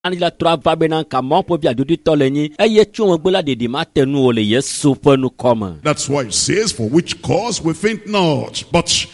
Anyi la trɔ ava bena ka Mawu ƒe vi adodoetɔ le nyi eye tso megbe la ɖeɖi mate nu o le Yesu ƒe ŋkɔ me. That's why it says, for which cause we faint not, but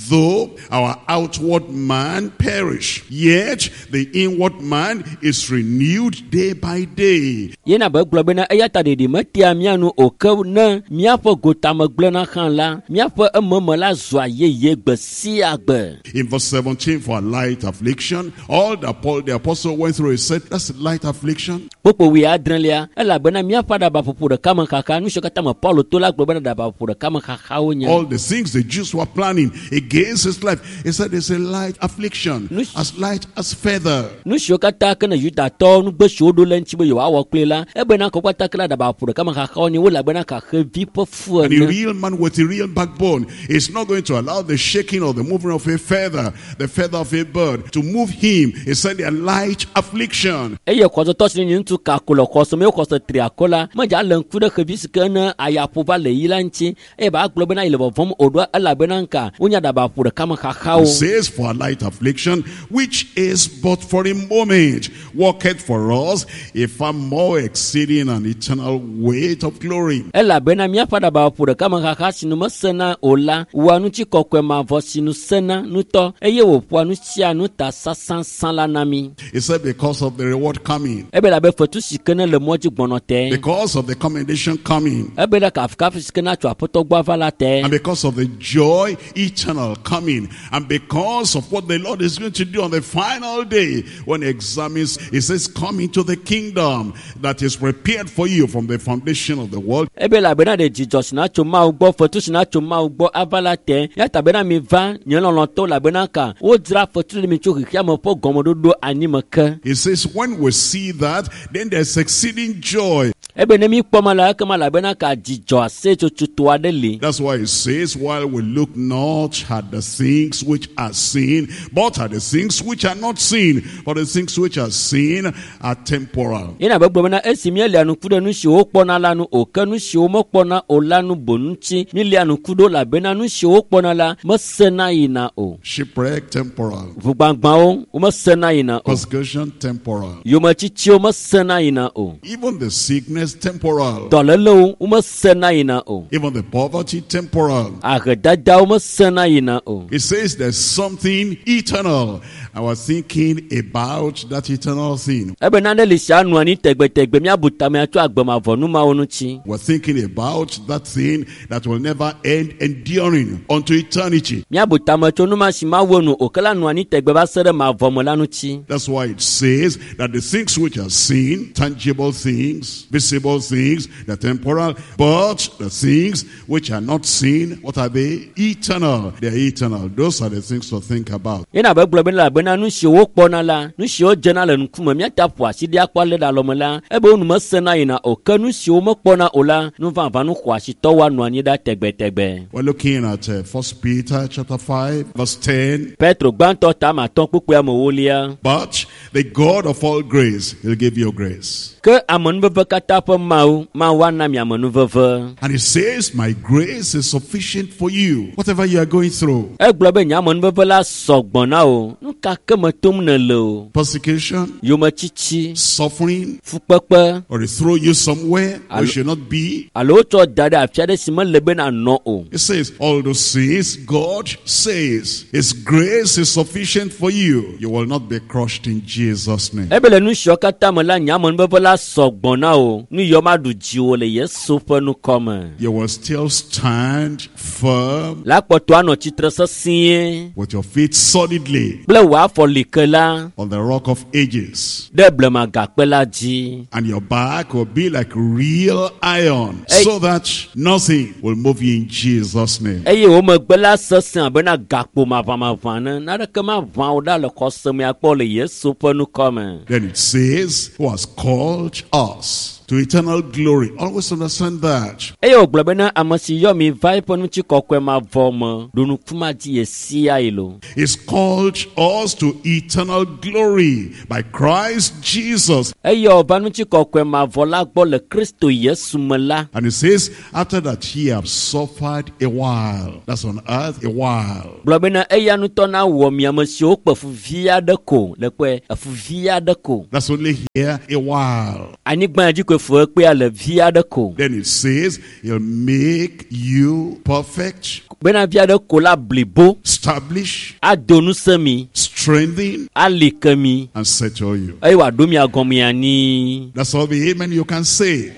though our outward man perish, yet the inward man is renewed day by day. Yena be gblɔ bena eya ta ɖeɖi metea mía nu o ke ne míaƒe gotame gblẽna hã la, míaƒe ememe la zua yeye gbe sia gbe. In verse 17, for light affliction, all that Paul the apostle went through, he said, that's light affliction. Kpukpui wuiadrelia, elabena míaƒe aɖabaƒoƒo ɖeka me xaxa, nu siwo katã me Paulo to la gblɔ bena aɖabaƒoƒo ɖeka me xaxawo nye. All the things the Jews were planning against his life, he said it's a light affliction, as light as feather. Nu siwo katã ke ne Yudatɔwo nugbe siwo ɖo le ŋuti be yewoawɔ kpli la, ebena kɔ kpata ke la aɖabaƒoƒo ɖeka me xaxawo nye wo elabena ka xevi ƒe fu And a ene. real man with a real backbone is not going to allow the shaking or the moving of a feather, the feather of a bird, to move him. He said they are light affliction. Eye xɔsetɔ si nye ŋutsu kako le xɔse me, xɔse tri akɔ la, medza le ŋku ɖe xevi si ke ne ayaƒo va le yi la ŋuti eye ba gblɔ bena yi le vɔvɔm o ɖoa elabena ŋka wonye aɖabaƒo ɖeka me xaxawo. It says, for a light affliction, which is but for a moment, worketh for us a far more exceeding and eternal weight of glory. Elabena míaƒe aɖabaƒo ɖeka me xaxa si nu mesena o la wɔa ŋutikɔkɔe mavɔ si nu sena ŋutɔ eye wòƒoa nu sia nu ta sãsãsã la na mí. He said, because of the reward coming, Ebe labe fetu si ke ne le mɔ dzi gbɔnɔ te. because of the commendation coming, Ebe ɖe kafukafu si ke na tso aƒetɔ gbɔ ava la te. and because of the joy eternal coming, and because of what the Lord is going to do on the final day when he examines, he says, come into the kingdom that is prepared for you from the foundation of the world. Ebe elabena ɖe dzidzɔ si na tso Mawu gbɔ, fetu si na tso Mawu gbɔ ava la te. Ya ta bena mi va nye lɔlɔ̃tɔwo elabena ka wodzra fetu ɖe mi tso xexeame ƒe gɔmeɖoɖo anyi me ke. He says, when we see that, then there's exceeding joy. Ebe ne mi kpɔ ma la ekema elabena ka dzidzɔ aseyetsotso aɖe li. That's why it says, while we look not at the things which are seen, but at the things which are not seen. For the things which are seen are temporal. Yena be gblɔ bena esi míelia ŋku ɖe nu siwo wokpɔna la nu o ke nu siwo womekpɔna o la nu boŋ ŋuti míelia ŋku ɖo elabena nu siwo wokpɔna la mesena yina o. Shipwreck, temporal. Ʋugbãgbãwo womesena yina o. Persecution, temporal. Yometsitsiwo mesena yina o. Even the sickness, temporal. Dɔlélewo womesena yina o. Even the poverty, temporal. Ahedadawo mesena yina o. It says there's something eternal. I was thinking about that eternal thing. Ebe nane li sia nɔ anyi tegbetegbe míabu tame atso agbemavɔ numawo ŋuti. We're thinking about that thing that will never end, enduring unto eternity. Míabu tame tso numa si mawu enu o ke la nɔ anyi tegbe va se ɖe mavɔ me la ŋuti. That's why it says that the things which are seen, tangible things, visible things, the temporal, but the things which are not seen, what are they? Eternal. They are eternal. Those are the things to think about. Yena be gblɔ bena elabena nu siwo wokpɔna la, nu siwo dzena le ŋkume míate ƒo asi ɖi akpɔ alé ɖe alɔme la, ebe wo nu mesena yina o ke nu siwo mekpɔna o la, nu vavã nu xɔasitɔwo anɔ anyi ɖa tegbetegbe. We're looking at 1 Peter chapter 5, verse 10. Petro gbãtɔ ta ame atɔ̃ kpukpui ame ewolia. But the God of all grace, he'll give you grace. Ke amenuveve katã ƒe Mawu, Mawu ana mi amenuveve. And he says, my grace is sufficient for you, whatever you are going through. Egblɔ be nye amenuveve la sɔgbɔ na wò. Nu ka ke me tom nèle o? Persecution, Yometiti, suffering, fukpekpe, or they throw you somewhere where you should not be. alo wotsɔ da ɖe afi aɖe si mele be nànɔ o. It says, all those things God says, his grace is sufficient for you. You will not be crushed in Jesus' name. Ebe le nu siawo katã me la, nye amenuveve la sɔgbɔ na wò. Nu yawo maɖu dziwò le Yesu ƒe ŋkɔ me. You will still stand firm La kpɔtɔ anɔ tsitre sesĩe with your feet solidly kple wò afɔ like la on the rock of ages. ɖe blema gakpe la dzi. And your back will be like real iron, Hey. so that nothing will move you in Jesus' name. Eye wo megbe la sesẽ abena gakpo maʋamaʋã ne naneke maʋã wò ɖa le xɔse me akpɔ le Yesu ƒe ŋkɔ me. Then it says, who has called us to eternal glory. Always understand that. Eye wògblɔ bena ame si yɔ mi va eƒe ŋutikɔkɔe mavɔ me ɖo nukuma dzi ye sia yi lo. He's called us to eternal glory by Christ Jesus. Eyɔ va ŋutikɔkɔe mavɔ la gbɔ le Kristo Yesu me la. And he says, after that ye have suffered a while. That's on earth, a while. Gblɔ bena eya ŋutɔ na wɔ mi ame siwo kpe fu vi aɖe ko le kpɔe efu vi aɖe ko. That's only here a while. Anyigba dzi koe fu ekpea le vi aɖe ko. Then it says, he'll make you perfect, Bena vi aɖe ko la blibo establish, ado ŋusẽ mi, strengthen, ali ke mi and settle you. eye wòaɖo mia gɔme anyi. That's all the amen you can say.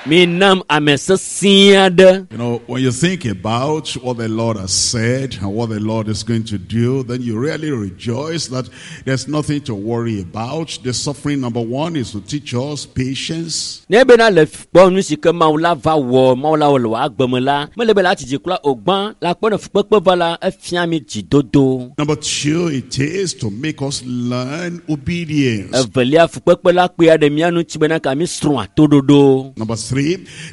Mi nam ame sesẽ aɖe. You know, when you think about what the Lord has said and what the Lord is going to do, then you really rejoice that there's nothing to worry about. The suffering, number one, is to teach us patience. Ne bena le kpɔ nu si ke Mawu la va wɔ Mawu la wɔ le wò agbe me la, mele be la atsi dzi kura o gbã la kpɔ ne fukpekpe va la efia mi dzidodo. Number two, it is to make us learn obedience. Evelia fukpekpe la kpea ɖe mía ŋuti bena ka mi srɔ̃ atoɖoɖo. Number three,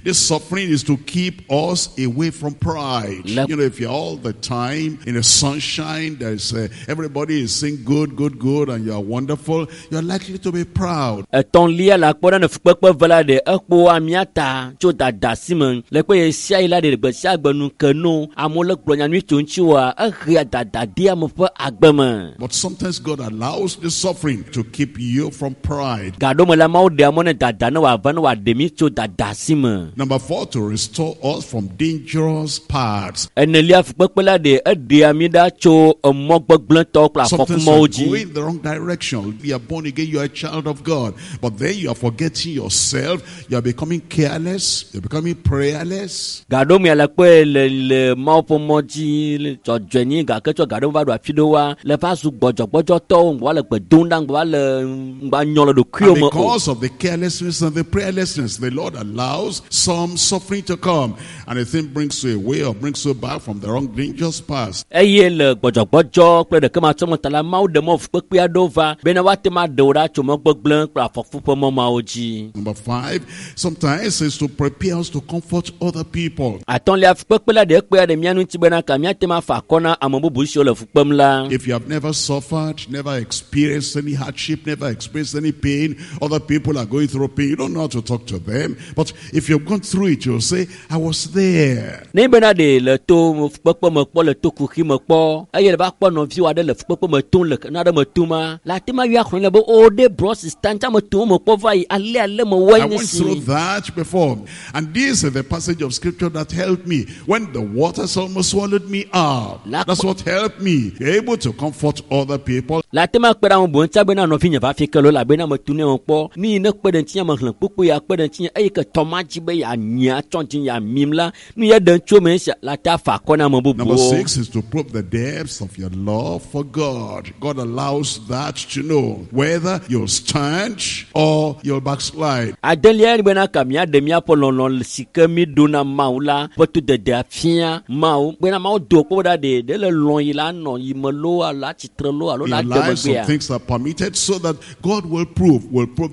this suffering is to keep us away from pride. You know, if you're all the time in the sunshine, there's everybody is saying good, good, good, and you are wonderful, you're likely to be proud. Etɔ̃lia la kpɔ ɖe ne fukpekpe va la ɖe ekpoa mía ta tso dada si me le kpe ye sia yi la ɖe gbe sia gbe nu ke no amewo le gblɔ nya nyui tso ŋutiwòa ehea dada de ame ƒe agbe me. But sometimes God allows the suffering to keep you from pride. Gaɖome la Mawu ɖea mɔ ne dada ne wòava ne wòaɖe mi tso dada si me. Number four, to restore us from dangerous paths. Enelia fukpekpe la ɖe eɖea mi ɖa tso emɔ gbegblẽtɔwo kple Sometimes afɔkumɔwo you are dzi. going the wrong direction. You are born again, you are a child of God. But then you are forgetting yourself. You are becoming careless. You are becoming prayerless. Gaɖome le kpɔe le le Mawu ƒe mɔ dzi le dzɔdzɔenyi gake tsɔ gaɖome va ɖo afi ɖewoa le va zu gbɔdzɔgbɔdzɔtɔwo ŋgbɔ va le gbe dom ɖa ŋgbɔ va le ŋgba nyɔ le ɖokuiwo And me o. because of the carelessness and the prayerlessness, the Lord allows some suffering to come. And the thing brings you away or brings you back from the wrong dangerous path. Eye le gbɔdzɔgbɔdzɔ kple ɖekematsɔme ta la Mawu ɖe mɔ fukpekpe aɖewo va bena woate ŋu aɖe wo ɖa tso mɔ gbegblẽ kple afɔku ƒe mɔ mawo dzi. Number five, sometimes it's to prepare us to comfort other people. Atɔ̃lia fukpekpe la ɖe ekpea ɖe mía ŋuti bena ka míate ŋu afa akɔ na ame bubu siwo le fu kpem la. If you have never suffered, never experienced any hardship, never experienced any pain, other people are going through pain, you don't know how to talk to them. But if you've gone through it, you'll say, I was there. Ne bena ɖe le to fukpekpe me kpɔ le to kuxi me kpɔ eye le va kpɔ nɔviwo aɖe le fukpekpe me tom le nu aɖe me toma la ate ŋu ayɔ axlẽ le be o ɖe brɔ sista ŋuti ame tom me kpɔ va yi ale ale me wɔe I nye went through si. that before. And this is the passage of scripture that helped me. When the waters almost swallowed me up. That's what helped me. You're able to comfort other people. La ate ŋu akpe ɖe ame bubu ŋuti bena nɔvinye va fi ke lo elabena metu ne me kpɔ nu yi ne kpe ɖe ŋutinye me xlẽ kpukpui ya kpe ɖe ŋutinye eye ke tɔ ma dzi be yeanyi atsɔ dzi yeamim la nu ye ɖem tso eme sia la te afa akɔ na ame Number bubuwo. six is to prove the depths of your love for God. God allows that to know whether you'll stand or you'll backslide. Adelia ye bena ka míaɖe míaƒe lɔlɔ si ke mi ɖo na Mawu la ƒe todede afia Mawu bena Mawu do kpɔ ɖa ɖe ɖe le lɔ yi la nɔ yi me loo alo atsitre loo alo In la your de life, some megbea. things are permitted so that God will prove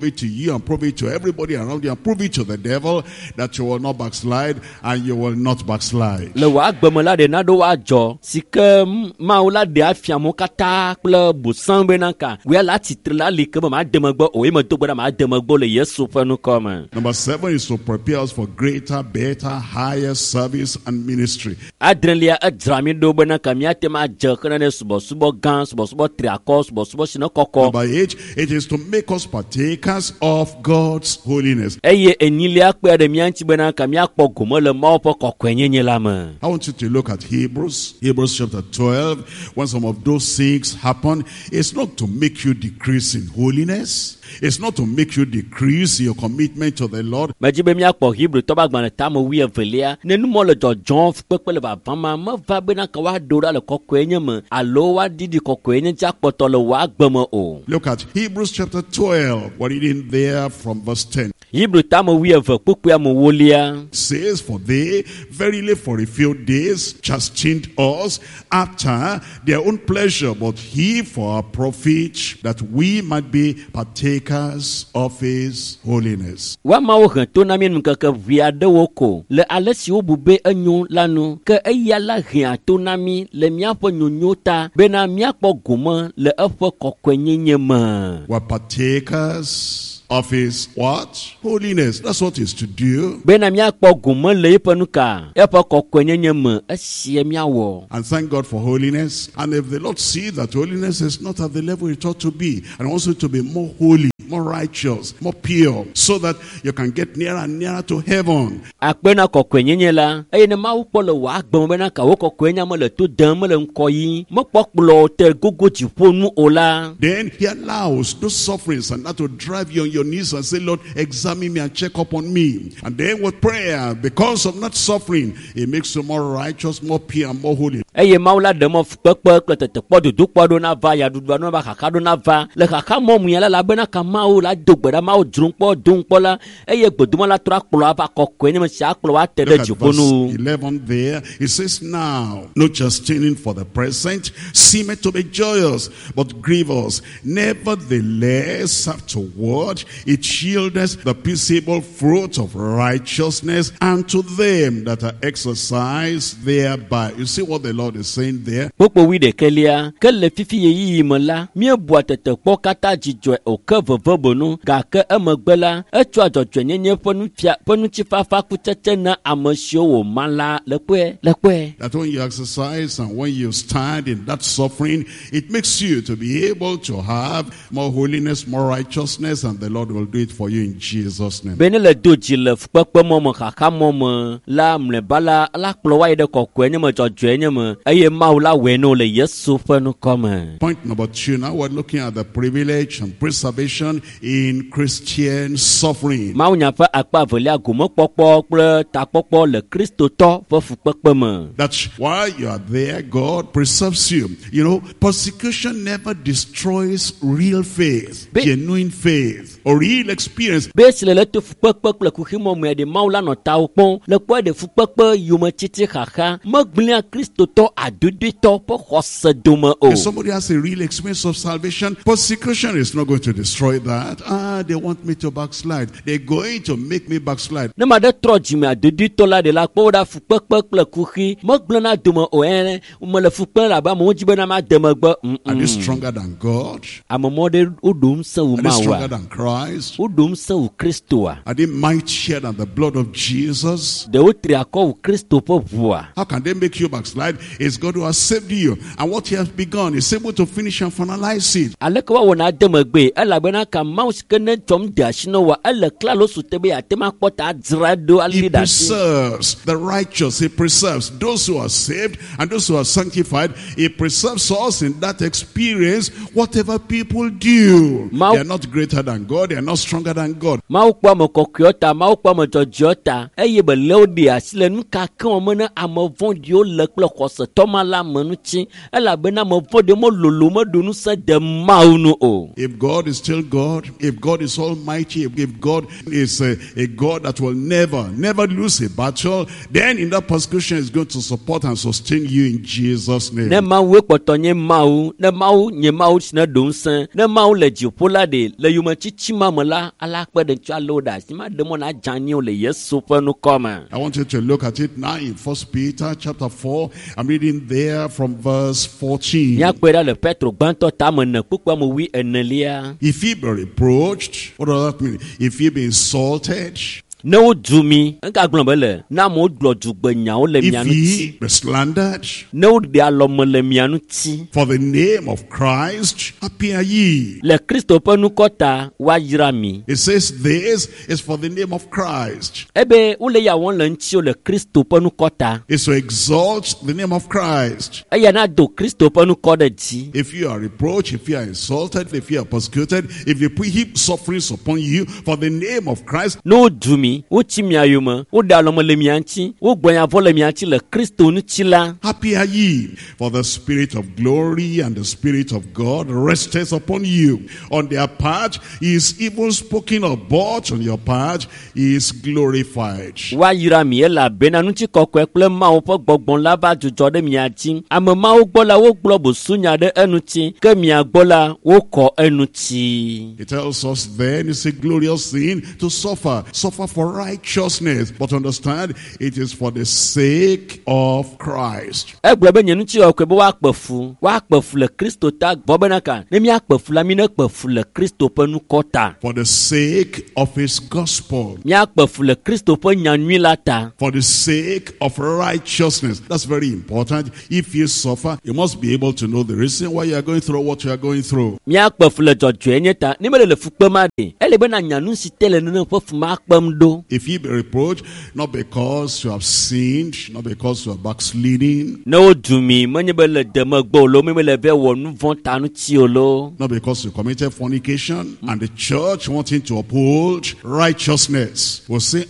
it to you and prove it to everybody around you and prove it to the devil that you will not backslide and you will not backslide. Le wò agbe me la ɖe naɖewo adzɔ si ke Mawu la ɖe afia amewo katã kple bosã bena ka wòya la atsitre la li ke be made megbe o ye medo gbe ɖa made megbe o le Yesu ƒe ŋkɔ me. Number seven is to prepare us for greater, better, higher service and ministry. Adrelia edzra mi ɖo bena ka míate ŋu adze xena ne subɔsubɔ gã, subɔsubɔ triakɔ, subɔsubɔ si ne kɔkɔ. Number eight, it is to make us partakers of God's holiness. Eye enyilia kpea ɖe mía ŋuti bena ka míakpɔ gome le Mawu ƒe kɔkɔenyenye la me. I want you to look at Hebrews, Hebrews chapter 12. When some of those things happen, it's not to make you decrease in holiness. It's not to make you decrease your commitment to the Lord. Medzi be míakpɔ Hebritɔ ƒe agbalẽ tame wuievelia. Ne numɔ le dzɔdzɔm fukpekpe le vava ma, meva bena ka woaɖo ɖa le kɔkɔenye me alo woaɖiɖi kɔkɔenye dzi akpɔtɔ le wò agbe me o. Look at Hebrews chapter 12. We're reading there from verse 10. Hebri tame 20 kpukpui ame 4 Says, for they verily for a few days chastened us after their own pleasure, but he for our profit, that we might be partakers of his holiness. Woamawo he to na mí ŋkeke ʋɛ aɖewo ko le ale si wobu be enyo la nu, ke eya la hea to na mí le míaƒe nyonyo ta bena míakpɔ gome le eƒe kɔkɔenyenye me. We're partakers of his what? Holiness. That's what is to do. Bena míakpɔ gome le eƒe nu ka? Eƒe kɔkɔenyenye me esie míawɔ. And thank God for holiness. And if the Lord sees that holiness is not at the level it ought to be, and wants you to be more holy, more righteous, more pure, so that you can get nearer and nearer to heaven. Akpe na kɔkɔenyenye la, eye ne Mawu kpɔ le wò agbe me bena ka wò kɔkɔenya mele to dem, mele ŋkɔ yim, mekpɔ kplɔ te gogo dziƒo nu o la, Then he allows those sufferings and that to drive you on your knees and say, Lord, examine me and check up on me. And then with prayer, because of not suffering, it makes you more righteous, more pure, and more holy. Eye Mawu la ɖe mɔ fukpekpe kple tetekpɔ dodokpɔ ɖo nava, yaɖuɖua ɖo nava, xaxa ɖo nava. Le xaxa mɔ mu ya la, elabena ka Mawu la do gbe ɖa, Mawu dzro ŋkpɔ, do ŋkpɔ la, eye gbedoma la trɔ akplɔ ava kɔkɔe nye me sia akplɔ wa te ɖe Look at dziƒo nu. verse 11 there. It says, now, no chastening for the present, seemeth to be joyous, but grievous. Nevertheless, afterward, it yieldeth the peaceable fruit of righteousness unto them that are exercised thereby. You see what the Lord is saying there? Kpokpo 11, ke le fifi ɣeyiɣi me la, míebua tetekpɔ katã dzidzɔe o ke veve bonu, gake emegbe la, etsɔa dzɔdzɔenyenye ƒe nufia ƒe ŋutifafa kutsetse na ame siwo wòma la le kpɔe le kpɔe. That when you exercise and when you stand in that suffering, it makes you to be able to have more holiness, more righteousness, and the Lord will do it for you in Jesus' name. Be ne le do dzi le fukpekpe mɔ me, xaxa mɔ me la, mlɔeba la, la kplɔ wa yi ɖe kɔkɔe nye me, dzɔdzɔe nye me, eye Mawu la wɔe na wo le Yesu ƒe ŋkɔ me. Point number 2 now, we're looking at the privilege and preservation in Christian suffering. Mawu nya ƒe akpa evelia, gomekpɔkpɔ kple takpɔkpɔ le Kristotɔ ƒe fukpekpe me. That's why you are there, God preserves you. You know, persecution never destroys real faith, genuine faith, or real experience. Be esi le le to fukpekpe kple kuxi mɔ me ɖe Mawu la nɔ tawo kpɔm le kpɔe ɖe fukpekpe yometiti xaxa megblẽa Kristotɔ adodoetɔ ƒe xɔse dome o. If somebody has a real experience of salvation, persecution is not going to destroy that. They want me to backslide. They're going to make me backslide. Ne ma ɖe trɔ dzime adodoetɔ la ɖe la kpɔ wo ɖa fukpekpe kple kuxi megblẽna dome o. Mele fukpem le abe amewo dzi bena made megbe. Are they stronger than God? Ame mɔ ɖe woɖo ŋusẽ wu Are they Mawua? stronger than Christ? Woɖo ŋusẽ wu Kristoa? Are they mightier than the blood of Jesus? Ɖe wotri akɔ wu Kristo ƒe ʋua? How can they make you backslide? It's God who has saved you. And what he has begun is able to finish and finalize it. Aleke woawɔ na ade megbee? Elabena ka Mawu si ke ne tsɔm de asi na woa, ele klalo su te be yeate ŋu akpɔ ta adzra ɖo He ali ɖe asi. preserves the righteous. He preserves those who are saved and those who are sanctified. He preserves us in that experience, whatever people do. They are not greater than God. They are not stronger than God. Mawu kpɔ ame kɔkɔewo ta, Mawu kpɔ ame dzɔdzɔewo ta, eye be le wo ɖe asi le nu ka ke wɔm ne ame vɔ̃ɖiwo le kple xɔsetɔ ma la me ŋuti, elabena ame vɔ̃ɖiwo melolo meɖo ŋusẽ de Mawu nu o. If God is still God, if God is almighty, if God is a God that will never, never lose a battle, then in that persecution is going to support and sustain you in Jesus' name. Ne Mawue kpɔtɔ nye Mawu, ne Mawu nye Mawu si ne ɖo ŋusẽ, ne Mawu le dziƒo la ɖe, le yometiti ma me la, ala kpe ɖe ŋuti ale wo ɖe asi, maɖe mɔ na dze anyi o le Yesu ƒe ŋkɔ me. I want you to look at it now in 1 Peter chapter 4. I'm reading there from verse 14. Míakpɔe ɖa le Petro gbãtɔ tame ene kpukpua me 24. If he be reproached, what does that mean? If he be insulted, Ne wodu mi, ega gblɔ be le, ne amewo gblɔ dugbenyawo le if mia he ŋuti, be slandered, ne woɖe alɔme le mia ŋuti, for the name of Christ, happy are ye. Le Kristo ƒe ŋkɔ ta, woayra mi. It says this is for the name of Christ. Ebe wole ya wɔm le ŋutiwo le Kristo ƒe ŋkɔ ta. It's to exalt the name of Christ. Eya na do Kristo ƒe ŋkɔ ɖe dzi. If you are reproached, if you are insulted, if you are persecuted, if they put heap sufferings upon you for the name of Christ, Ne wodu mi, mi wotsi mia yome woɖe alɔme le mia ŋuti wogblɔ nya vɔ le mia ŋuti le Kristo ŋuti la Happy are ye, for the Spirit of glory and the Spirit of God resteth upon you. On their part he is even spoken of, but on your part he is glorified. Woayra mi elabena ŋutikɔkɔe kple Mawu ƒe gbɔgbɔ la va dzudzɔ ɖe mia dzi. Ame mawo gbɔ la wogblɔ busunya ɖe eŋuti ke mia gbɔ la wokɔ eŋuti. It tells us then it's a glorious thing to suffer. Suffer for righteousness. But understand, it is for the sake of Christ. Egblɔ be nye ŋutikɔkɔe be woakpe fu woakpe fu le Kristo ta vɔ bena ka ne míakpe fu la mi nekpe fu le Kristo ƒe nukɔ ta. For the sake of his gospel. Míakpe fu le Kristo ƒe nyanyui la ta. For the sake of righteousness. That's very important. If you suffer, you must be able to know the reason why you are going through what you are going through. Míakpe fu le dzɔdzɔenye ta ne mele le fu kpem aɖe ele be nanya nu si te le nene ƒe fu ma kpem ɖo. If ye be reproached, not because you have sinned, not because you are backsliding, Ne wodu mi menye be le demegbe o lo menye be le vɛ wɔ nu vɔ̃ ta ŋuti o lo. not because you committed fornication, and the church wanting to uphold righteousness will say,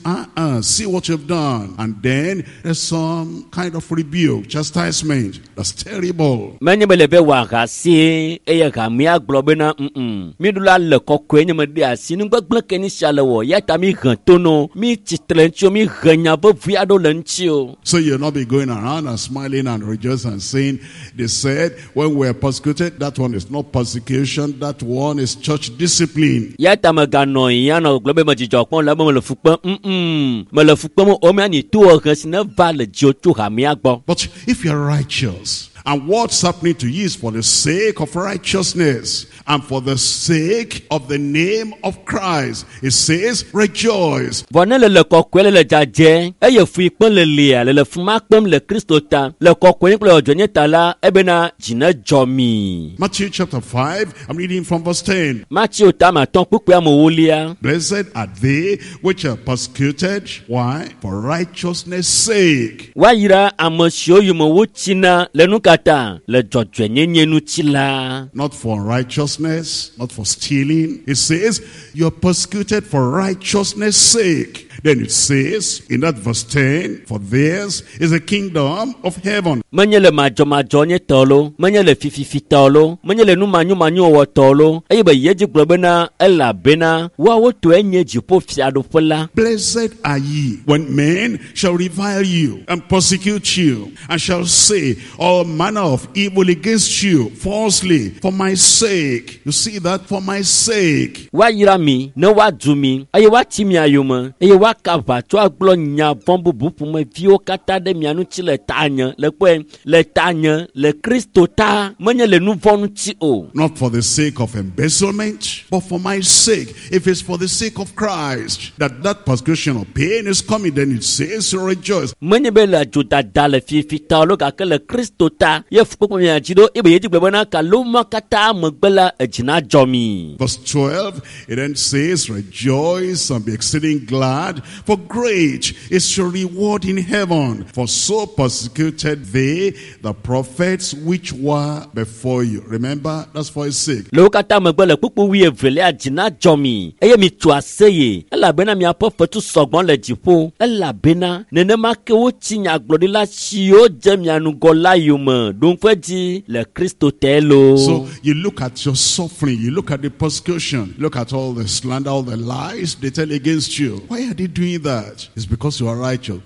see what you've done. And then there's some kind of rebuke, chastisement. That's terrible. Menye be le vɛ wɔ ahasi eye hamea gblɔ bena mm mi ɖo la le kɔkɔe nye me ɖe asi nugbegblẽ ke ni sia le wɔ ya ta mi he tono mi tsitre ŋuti o mi he nya vevi aɖewo le ŋuti o. So you'll not be going around and smiling and rejoicing and saying, they said, when we were persecuted, that one is not persecution, that one is church discipline. Ya ta meganɔ yi anɔ gblɔ be me dzidzɔ kpɔm le be mele fu kpem mele fu kpem o mia ni to he si ne va le dziwò tso hamea gbɔ. But if you're righteous, and what's happening to you is for the sake of righteousness and for the sake of the name of Christ, it says, rejoice. Vɔ ne le le kɔkɔe le le dzadzɛ eye fu yi kpem le lia le le fu ma kpem le Kristo ta le kɔkɔe kple dzɔdzɔenye ta la ebena dzi ne dzɔ mi. Matthew chapter 5, I'm reading from verse 10. Matthew ta ma atɔ̃ kpukpui amewolia. Blessed are they which are persecuted. Why? For righteousness' sake. Woayra ame siwo yome wotsina le nu ka ta le dzɔdzɔenyenye ŋuti la. Not for unrighteousness, not for stealing. It says, you're persecuted for righteousness' sake. Then it says in that verse 10, for theirs is the kingdom of heaven. Menye le madzɔmadzɔ nye tɔ lo, menye le fififi tɔ lo, menye le numanyomanyowɔwɔ tɔ lo, eye be yedzi gblɔ bena elabena woawo tɔe nye dziƒo fiaɖuƒe la. Blessed are ye when men shall revile you and persecute you and shall say all manner of evil against you falsely for my sake. You see that? For my sake. Woayra mi ne woadu mi eye woatsi mia yome eye woaka aʋatso agblɔ nya vɔ̃ bubu ƒomeviwo katã ɖe mia ŋuti le tanye le kpɔe le tanye le Kristo ta menye le nu vɔ̃ ŋuti o. Not for the sake of embezzlement, but for my sake. If it's for the sake of Christ that that persecution or pain is coming, then it says rejoice. Menye be le dzodada le fifi ta o gake le Kristo ta ye fukpekpe mia dzi ɖo eye be yedzi gblɔ bena kaloma katã megbe la edzi na dzɔ mi. Verse 12, it then says, rejoice and be exceeding glad, for great is your reward in heaven. For so persecuted they the prophets which were before you. Remember, that's for his sake. Le wo katã megbe le kpukpu wuievelia dzi na dzɔ mi eye mitso aseye elabena miaƒe fetu sɔgbɔ le dziƒo elabena nenema ke wotsi nyagblɔɖila siwo dze mia ŋgɔ la yome ɖo ŋku edzi le Kristo te lo. So you look at your suffering, you look at the persecution, look at all the slander, all the lies they tell against you. Why are they doing that? It's because you are righteous.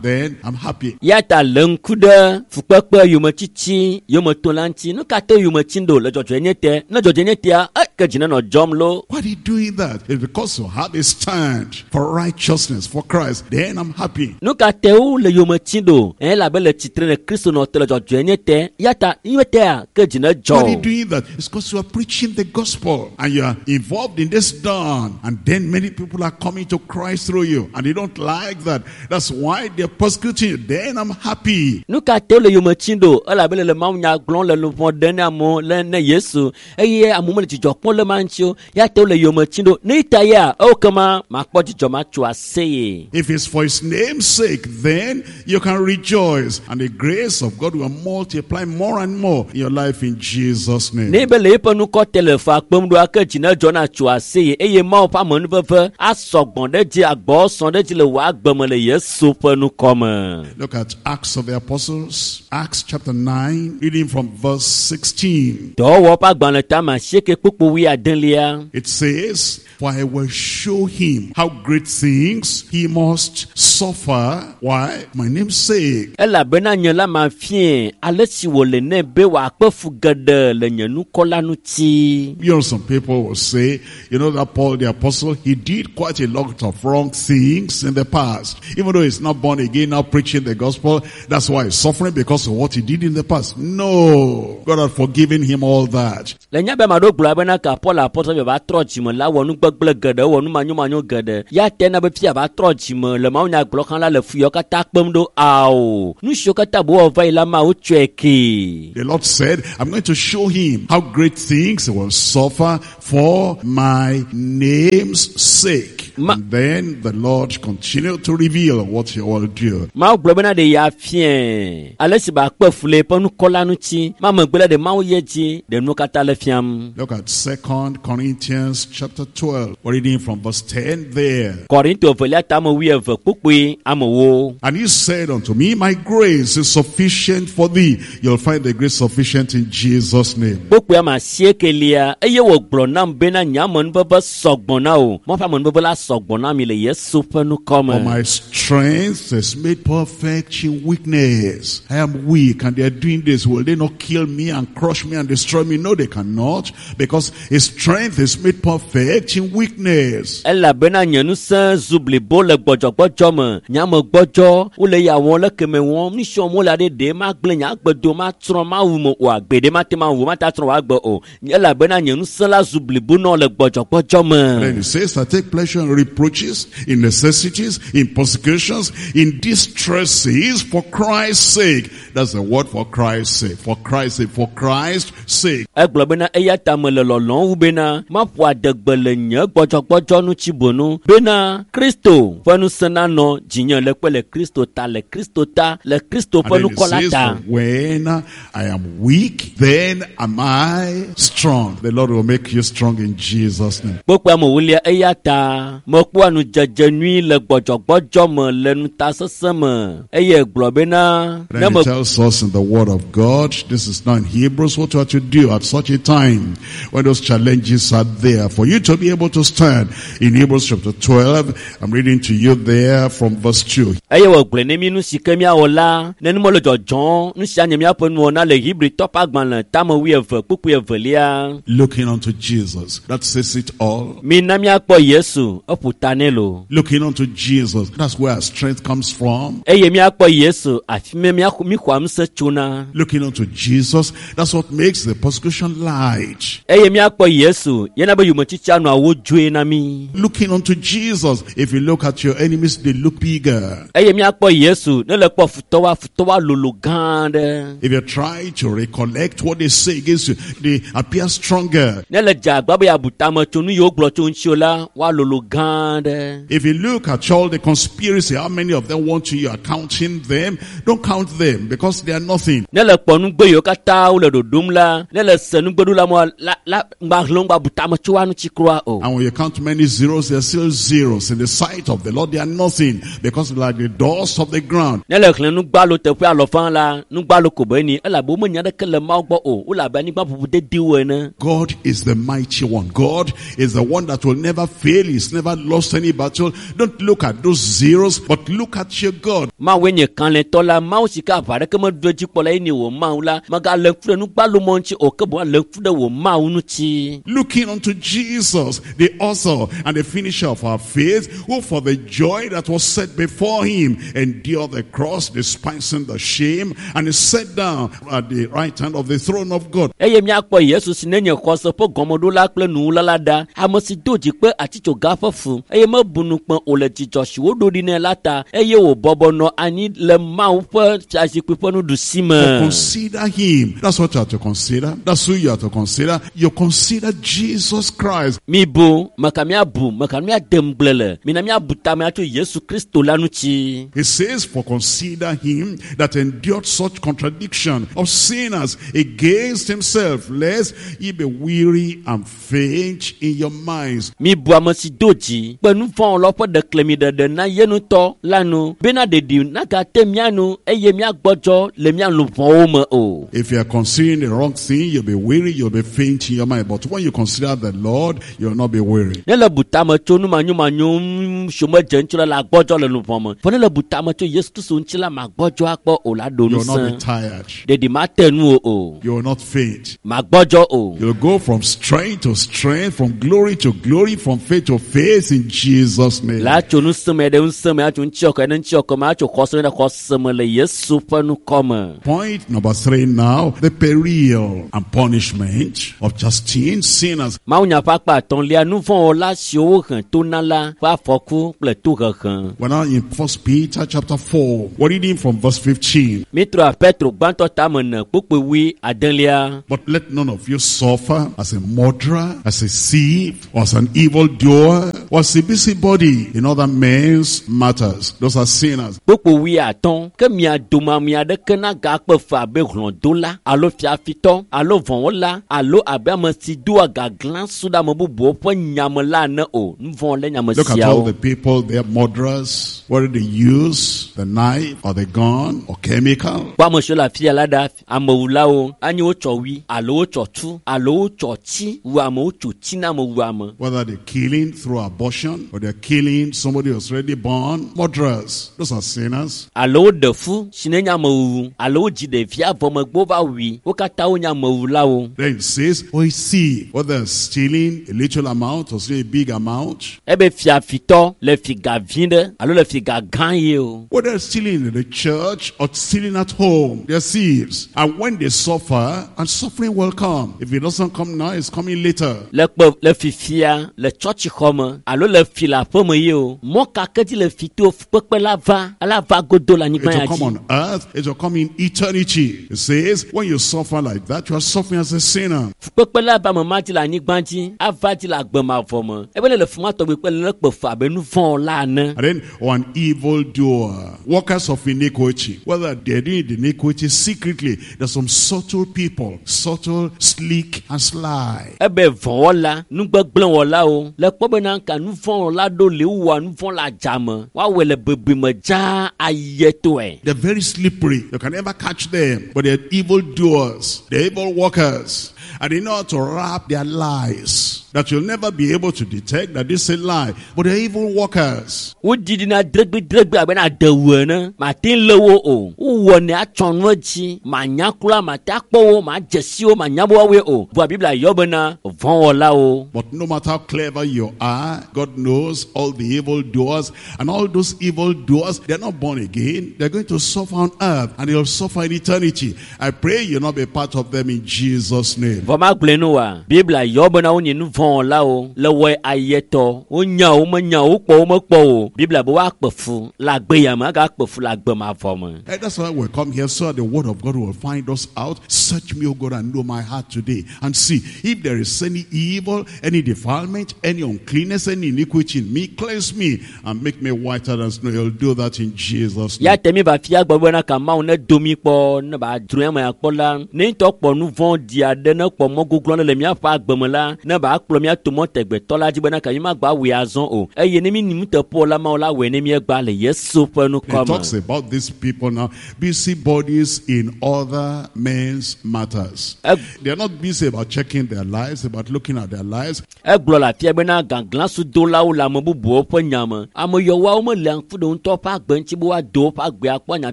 Then I'm happy. Ya ta le ŋku ɖe fukpekpe yometsitsi yometola ŋuti. Nu ka te yometsi ɖo le dzɔdzɔenye te? Ne dzɔdzɔenye tea, ke dzi nenɔ dzɔm lo. Why are they doing that? It's because you have a stand for righteousness, for Christ. Then I'm happy. Nu ka te wo le yometsi ɖo? Elabe le tsitre le Kristo nɔ te le dzɔdzɔenye te. Ya ta nye tea, ke dzi ne dzɔ. Why are they doing that? It's because you are preaching the gospel and you are involved in this dawn. And then many people are coming to Christ through you and they don't like that. That's why they're persecuting you. Then I'm happy. Nu ka te wo le yometsi ɖo? Elabe le le Mawu nya gblɔm le luʋɔ ɖem ne amewo le ne Yesu eye amewo mele dzidzɔ kpɔm vɔ̃ le ma ŋuti o ya te wole yome tsi ɖo ne ta ya ewo kema makpɔ dzidzɔ matso aseye. If it's for his name's sake, then you can rejoice. And the grace of God will multiply more and more in your life in Jesus' name. Ne be le eƒe nukɔ te le fa kpem ɖoa ke dzi ne dzɔ na tso aseye eye Mawu ƒe amenuveve asɔgbɔ ɖe dzi agbɔ sɔ ɖe dzi le wò agbe me le Yesu ƒe nukɔ me. Look at Acts of the Apostles, Acts chapter 9, reading from verse 16. Dɔwɔwɔ ƒe agbalẽ tame asieke kpukpu wuiadelia. It says, For I will show him how great things he must suffer. Why? My name's sake. Elabena nye la mafie ale si wòle nɛ be wòakpe fu geɖe le nye nukɔ la ŋuti. You know, some people will say, you know, that Paul the apostle, he did quite a lot of wrong things in the past. Even though he's not born again, now preaching the gospel, that's why he's suffering because of what he did in the past. No. God had forgiven him all that. Le nya be ame aɖewo gblɔ bena ka Paul apɔtɔ be va trɔ dzime la wɔ nu gbegblẽ geɖe wɔ nu manyomanyo geɖe ya te na be fia va trɔ dzime le mawunya gblɔ xã la le fu yawo katã kpem ɖo ao nu siwo katã bo wɔ va yi la Mawu tsɔe kee. The Lord said, I'm going to show him how great things he will suffer for my name's sake. And then the Lord continued to reveal what he will do. Mawu gblɔ bena ɖe ya fie ale si ba kpe fu le eƒe nukɔ la ŋuti ma megbe la ɖe Mawu ye dzi ɖe nuwo katã le fiam. Look at 2 Corinthians chapter 12. We're reading from verse 10 there. Korinto evelia ta ame wuieve kpukpui amewo. And he said unto me, My grace is sufficient for thee. You'll find the grace sufficient in Jesus' name. Kpukpui ame asiekelia eye wògblɔ nam bena nye amenuveve sɔgbɔ na wò. Mawu ƒe amenuveve la sɔgbɔ na mi le Yesu ƒe nukɔ For me. my strength is made perfect in weakness. I am weak and they are doing this. Will they not kill me and crush me and destroy me? No, they cannot, because his strength is made perfect in weakness. Elabena nye ŋusẽ zu blibo le gbɔdzɔgbɔdzɔ me. Nye ame gbɔdzɔ wole ya wɔm le keme wɔm. Nu si wɔm wole aɖe ɖe magblẽ nye agbe do matsrɔ̃ mawu me o agbe ɖe mate ma wu mate atsrɔ̃ wò agbe o. Elabena nye ŋusẽ la zu blibo nɔ le gbɔdzɔgbɔdzɔ Then me. he says, I take pleasure in reproaches, in necessities, in persecutions, in distresses for Christ's sake. That's the word, for Christ's sake, for Christ's sake, for Christ's sake. Egblɔ bena eya ta mele lɔlɔ̃m wu bena maƒo adegbe le nye gbɔdzɔgbɔdzɔ ŋuti bonu bena Kristo ƒe ŋusẽ nanɔ dzinye le kpe le Kristo ta le Kristo ta le Kristo And ƒe then he nukɔ la says, ta. "For when I am weak, then am I strong. The Lord will make you strong in Jesus' name. Kpokpoe ame wulia eya ta mekpɔa nudzedze nyui le gbɔdzɔgbɔdzɔ me le ŋutasesẽ me eye gblɔ bena ne Then me he tells us in the Word of God, this is now in Hebrews, what you are to do at such a time when those challenges are there for you to be able to stand. In Hebrews chapter 12, I'm reading to you there from verse 2. Eye wògblɔe ne mí nu si ke míawɔ la ne nu mele dzɔdzɔm nu sia nye míaƒe nuwɔna le Hebritɔ ƒe agbalẽ tame wuieve kpukpui evelia. Looking unto Jesus. That says it all. Mina míakpɔ Yesu eƒo ta nɛ lo. Looking unto Jesus. That's where our strength comes from. Eye míakpɔ Yesu afi ma míxɔa ŋusẽ tsona. Looking unto Jesus. That's what makes the persecution light. Eye míakpɔ Yesu yena be yometsitsia nɔa wodzoe na mí. Looking unto Jesus. If you look at your enemies, they look bigger. Eye míakpɔ Yesu ne le kpɔ futɔwoa futɔwoa lolo gã aɖe. If you try to recollect what they say against you, they appear stronger. Ne le dze agbagba be yeabu tame tso nu yiwo gblɔ tso ŋuti o la woalolo gã aɖe. If you look at all the conspiracy, how many of them want you, you are counting them. Don't count them because they are nothing. Ne le kpɔ nugbe yiwo katã wole ɖoɖom la ne le se nugbeɖola mɔ la la ŋgba hlẽ ŋgba bu tame tso woa ŋuti kura o. And when you count many zeros, they are still zeros. In the sight of the Lord, they are nothing because they're like the dust of the ground. Ne le xlẽ nugbalo teƒe alɔfã la nugbalo ko be ni elabe womenya ɖeke le Mawu gbɔ o wole abe anyigba ʋuʋu dediwo ene. God is the mighty one. God is the one that will never fail. He's never lost any battle. Don't look at those zeros, but look at your God. Mawue nye kalẽtɔ la Mawu si ke aʋa ɖeke meɖo edzi kpɔ la ye nye wò Mawu la megalé ŋku ɖe nugbalo mɔ ŋuti o ke boŋ alé ŋku ɖe wò Mawu ŋuti. Looking unto Jesus, the author and the finisher of our faith, who for the joy that was set before him him endure the cross, despising the shame, and is set down at the right hand of the throne of God. Eye míakpɔ Yesu si nenye xɔse ƒe gɔmeɖola kple nuwula la ɖa, ame si do dzi kpe atitsoga ƒe fu eye mebu ŋukpe o le dzidzɔ si woɖo ɖi nɛ la ta, eye wòbɔbɔ nɔ anyi le Mawu ƒe fiazikpui ƒe nuɖusi me. Consider him. That's what you are to consider. That's who you are to consider. You consider Jesus Christ. Mibu, meka míabu, meka míade ŋugble le. Mina míabu tame atso Yesu Kristo la ŋuti. He says, for consider him that endured such contradiction of sinners against himself, lest ye be weary and faint in your minds. Mibu ame si do dzi kpe nu vɔ̃wɔlawo ƒe ɖeklemiɖeɖe na ye ŋutɔ la nu, bena ɖeɖi nagate mía nu eye míagbɔdzɔ le mía luʋɔwo me o. If you are considering the wrong thing, you'll be weary, you'll be faint in your mind. But when you consider the Lord, you'll not be weary. Ne le bu tame tso nu manyomanyo ŋu si medze ŋuti la, la gbɔdzɔ le luʋɔ me. Vɔ ne le bu tame tso Yesu Kristo ŋuti la, magbɔdzɔ akpɔ o la ɖo You'll not be ŋusẽ. tired. Ɖeɖi mate nu o o. You will not faint. Magbɔdzɔ o. You'll go from strength to strength, from glory to glory, from faith to faith in Jesus' name. La tso ŋusẽ me ɖe ŋusẽ me, atso ŋutiɔkɔ ɖe ŋutiɔkɔ me, atso xɔse ɖe xɔse me le Yesu ƒe ŋkɔ me. Point number 3 now, the peril and punishment of chastening sinners. Mawunya ƒe akpa atɔ̃lia, nu vɔ̃wɔla siwo wohe to na la ƒe afɔku kple tohehe. We're now in 1 Peter chapter 4. We're reading from verse 15. Mítrɔ Petro gbãtɔ tame ene kpukpui wui adelia. But let none of you suffer as a murderer, as a thief, or as an evildoer, or as a busybody in other men's matters. Those are sinners. Kpukpui wui atɔ̃, ke mia dome ame aɖeke nagakpe fe abe hlɔ̃dola alo fiafitɔ alo vɔ̃wɔla alo abe ame si doa gaglãsu ɖe ame bubuwo ƒe nyame la ene o. Nu vɔ̃ le nyame Look at all siawo. the people, they are murderers, whether they use the knife or the gun or chemical. Kpɔ ame siwo le afia la ɖa, amewulawo, anyi wotsɔ wui alo wotsɔ tu alo wotsɔ tsi wu ame, wotso tsi na ame wu ame. Whether they're killing through abortion or they're killing somebody who's already born. Murderers, those are sinners. Alo woɖe fu si ne nye amewuwu alo wodzi ɖevia vɔ megbe wova wui. Wo katã wonye amewulawo. Then it says, or a thief, whether stealing a little amount or stealing a big amount. Ebe fiafitɔ le fi ga vi ɖe alo le fi ga gã ye o. Whether stealing in the church or stealing at home, they're thieves. And when they suffer, and suffering will come. If it doesn't come now, it's coming later. Le kpe le fifia le tsɔtsixɔ me alo le fi le aƒe me ye o. Mɔ ka ke dzi le fi to fukpekpe la va, la va godo le It anyigba will ya come dzi. on earth, it will come in eternity. It says, when you suffer like that, you are suffering as a sinner. Fukpekpe la va me ma dzi le anyigba dzi, ava dzi le agbemavɔ me. Ebe ne le fi ma tɔgbi kpe le kpe fe abe nu vɔ̃ la ene. And then, or an evildoer, workers of iniquity, whether they're doing the iniquity secretly, there's some subtle people, subtle, sleek, and sly. Ebe vɔ̃wɔla, nugbegblẽwɔlawo le kpɔ bena ka nu vɔ̃wɔla ɖo le wowɔa nu vɔ̃ le adzame. Woawɔe le bebeme dzaa ayetɔe. They're very slippery. You can never catch them. But they're evildoers. They're evil workers. And they know how to wrap their lies that you'll never be able to detect that this is a lie. But they're evil workers. Woɖiɖina dregbedregbe abe na adewu ene. Mate ŋu lé wo o. Wowɔnɛ atsɔ nu edzi. Manya kura, mate akpɔ wo, madze si wo, manya be woawoe o. Vɔa Biblia yɔ bena vɔ̃wɔlawo. But no matter how clever you are, God knows all the evil doers. And all those evil doers, they're not born again. They're going to suffer on earth and they'll suffer in eternity. I pray you'll not be part of them in Jesus' name. Vɔ magblɔe no wa, Biblia yɔ bena wonye nu vɔ̃wɔlawo le wɔe ayetɔ. Wonya wo, menya wo, wokpɔ wo, mekpɔ wo. Biblia be woakpe fu le agbe ya me, agakpe fu le agbe mavɔ me. And that's why we come here, so that the word of God will find us out. Search me, O God, and know my heart today. And see if there is any evil, any defilement, any uncleanness, any iniquity in me. Cleanse me and make me whiter than snow. He'll do that in Jesus' name. Ya te mi va fia gbɔ bena ka Mawu ne do mi kpɔ, ne ba dzro eme akpɔ la, ne ŋutɔ kpɔ nu vɔ̃ ɖi aɖe, ne kpɔ mɔ goglo aɖe le míaƒe agbe me la, ne ba kplɔ mía to mɔ tegbetɔ la dzi bena ka mi magba wɔe azɔ o. Eye ne mi ni nuteƒe la, Mawu la wɔe ne míegba le Yesu ƒe He ŋkɔ talks me. about these people now, busybodies in other men's matters. They are not busy about checking their lives, about looking at their lives. Egblɔ le afia bena gaglãsudolawo le ame bubuwo ƒe nya me. Ame yɔwoawo mele ŋku ɖe ŋutɔ ƒe agbe ŋuti be woado woƒe agbe akpɔ anya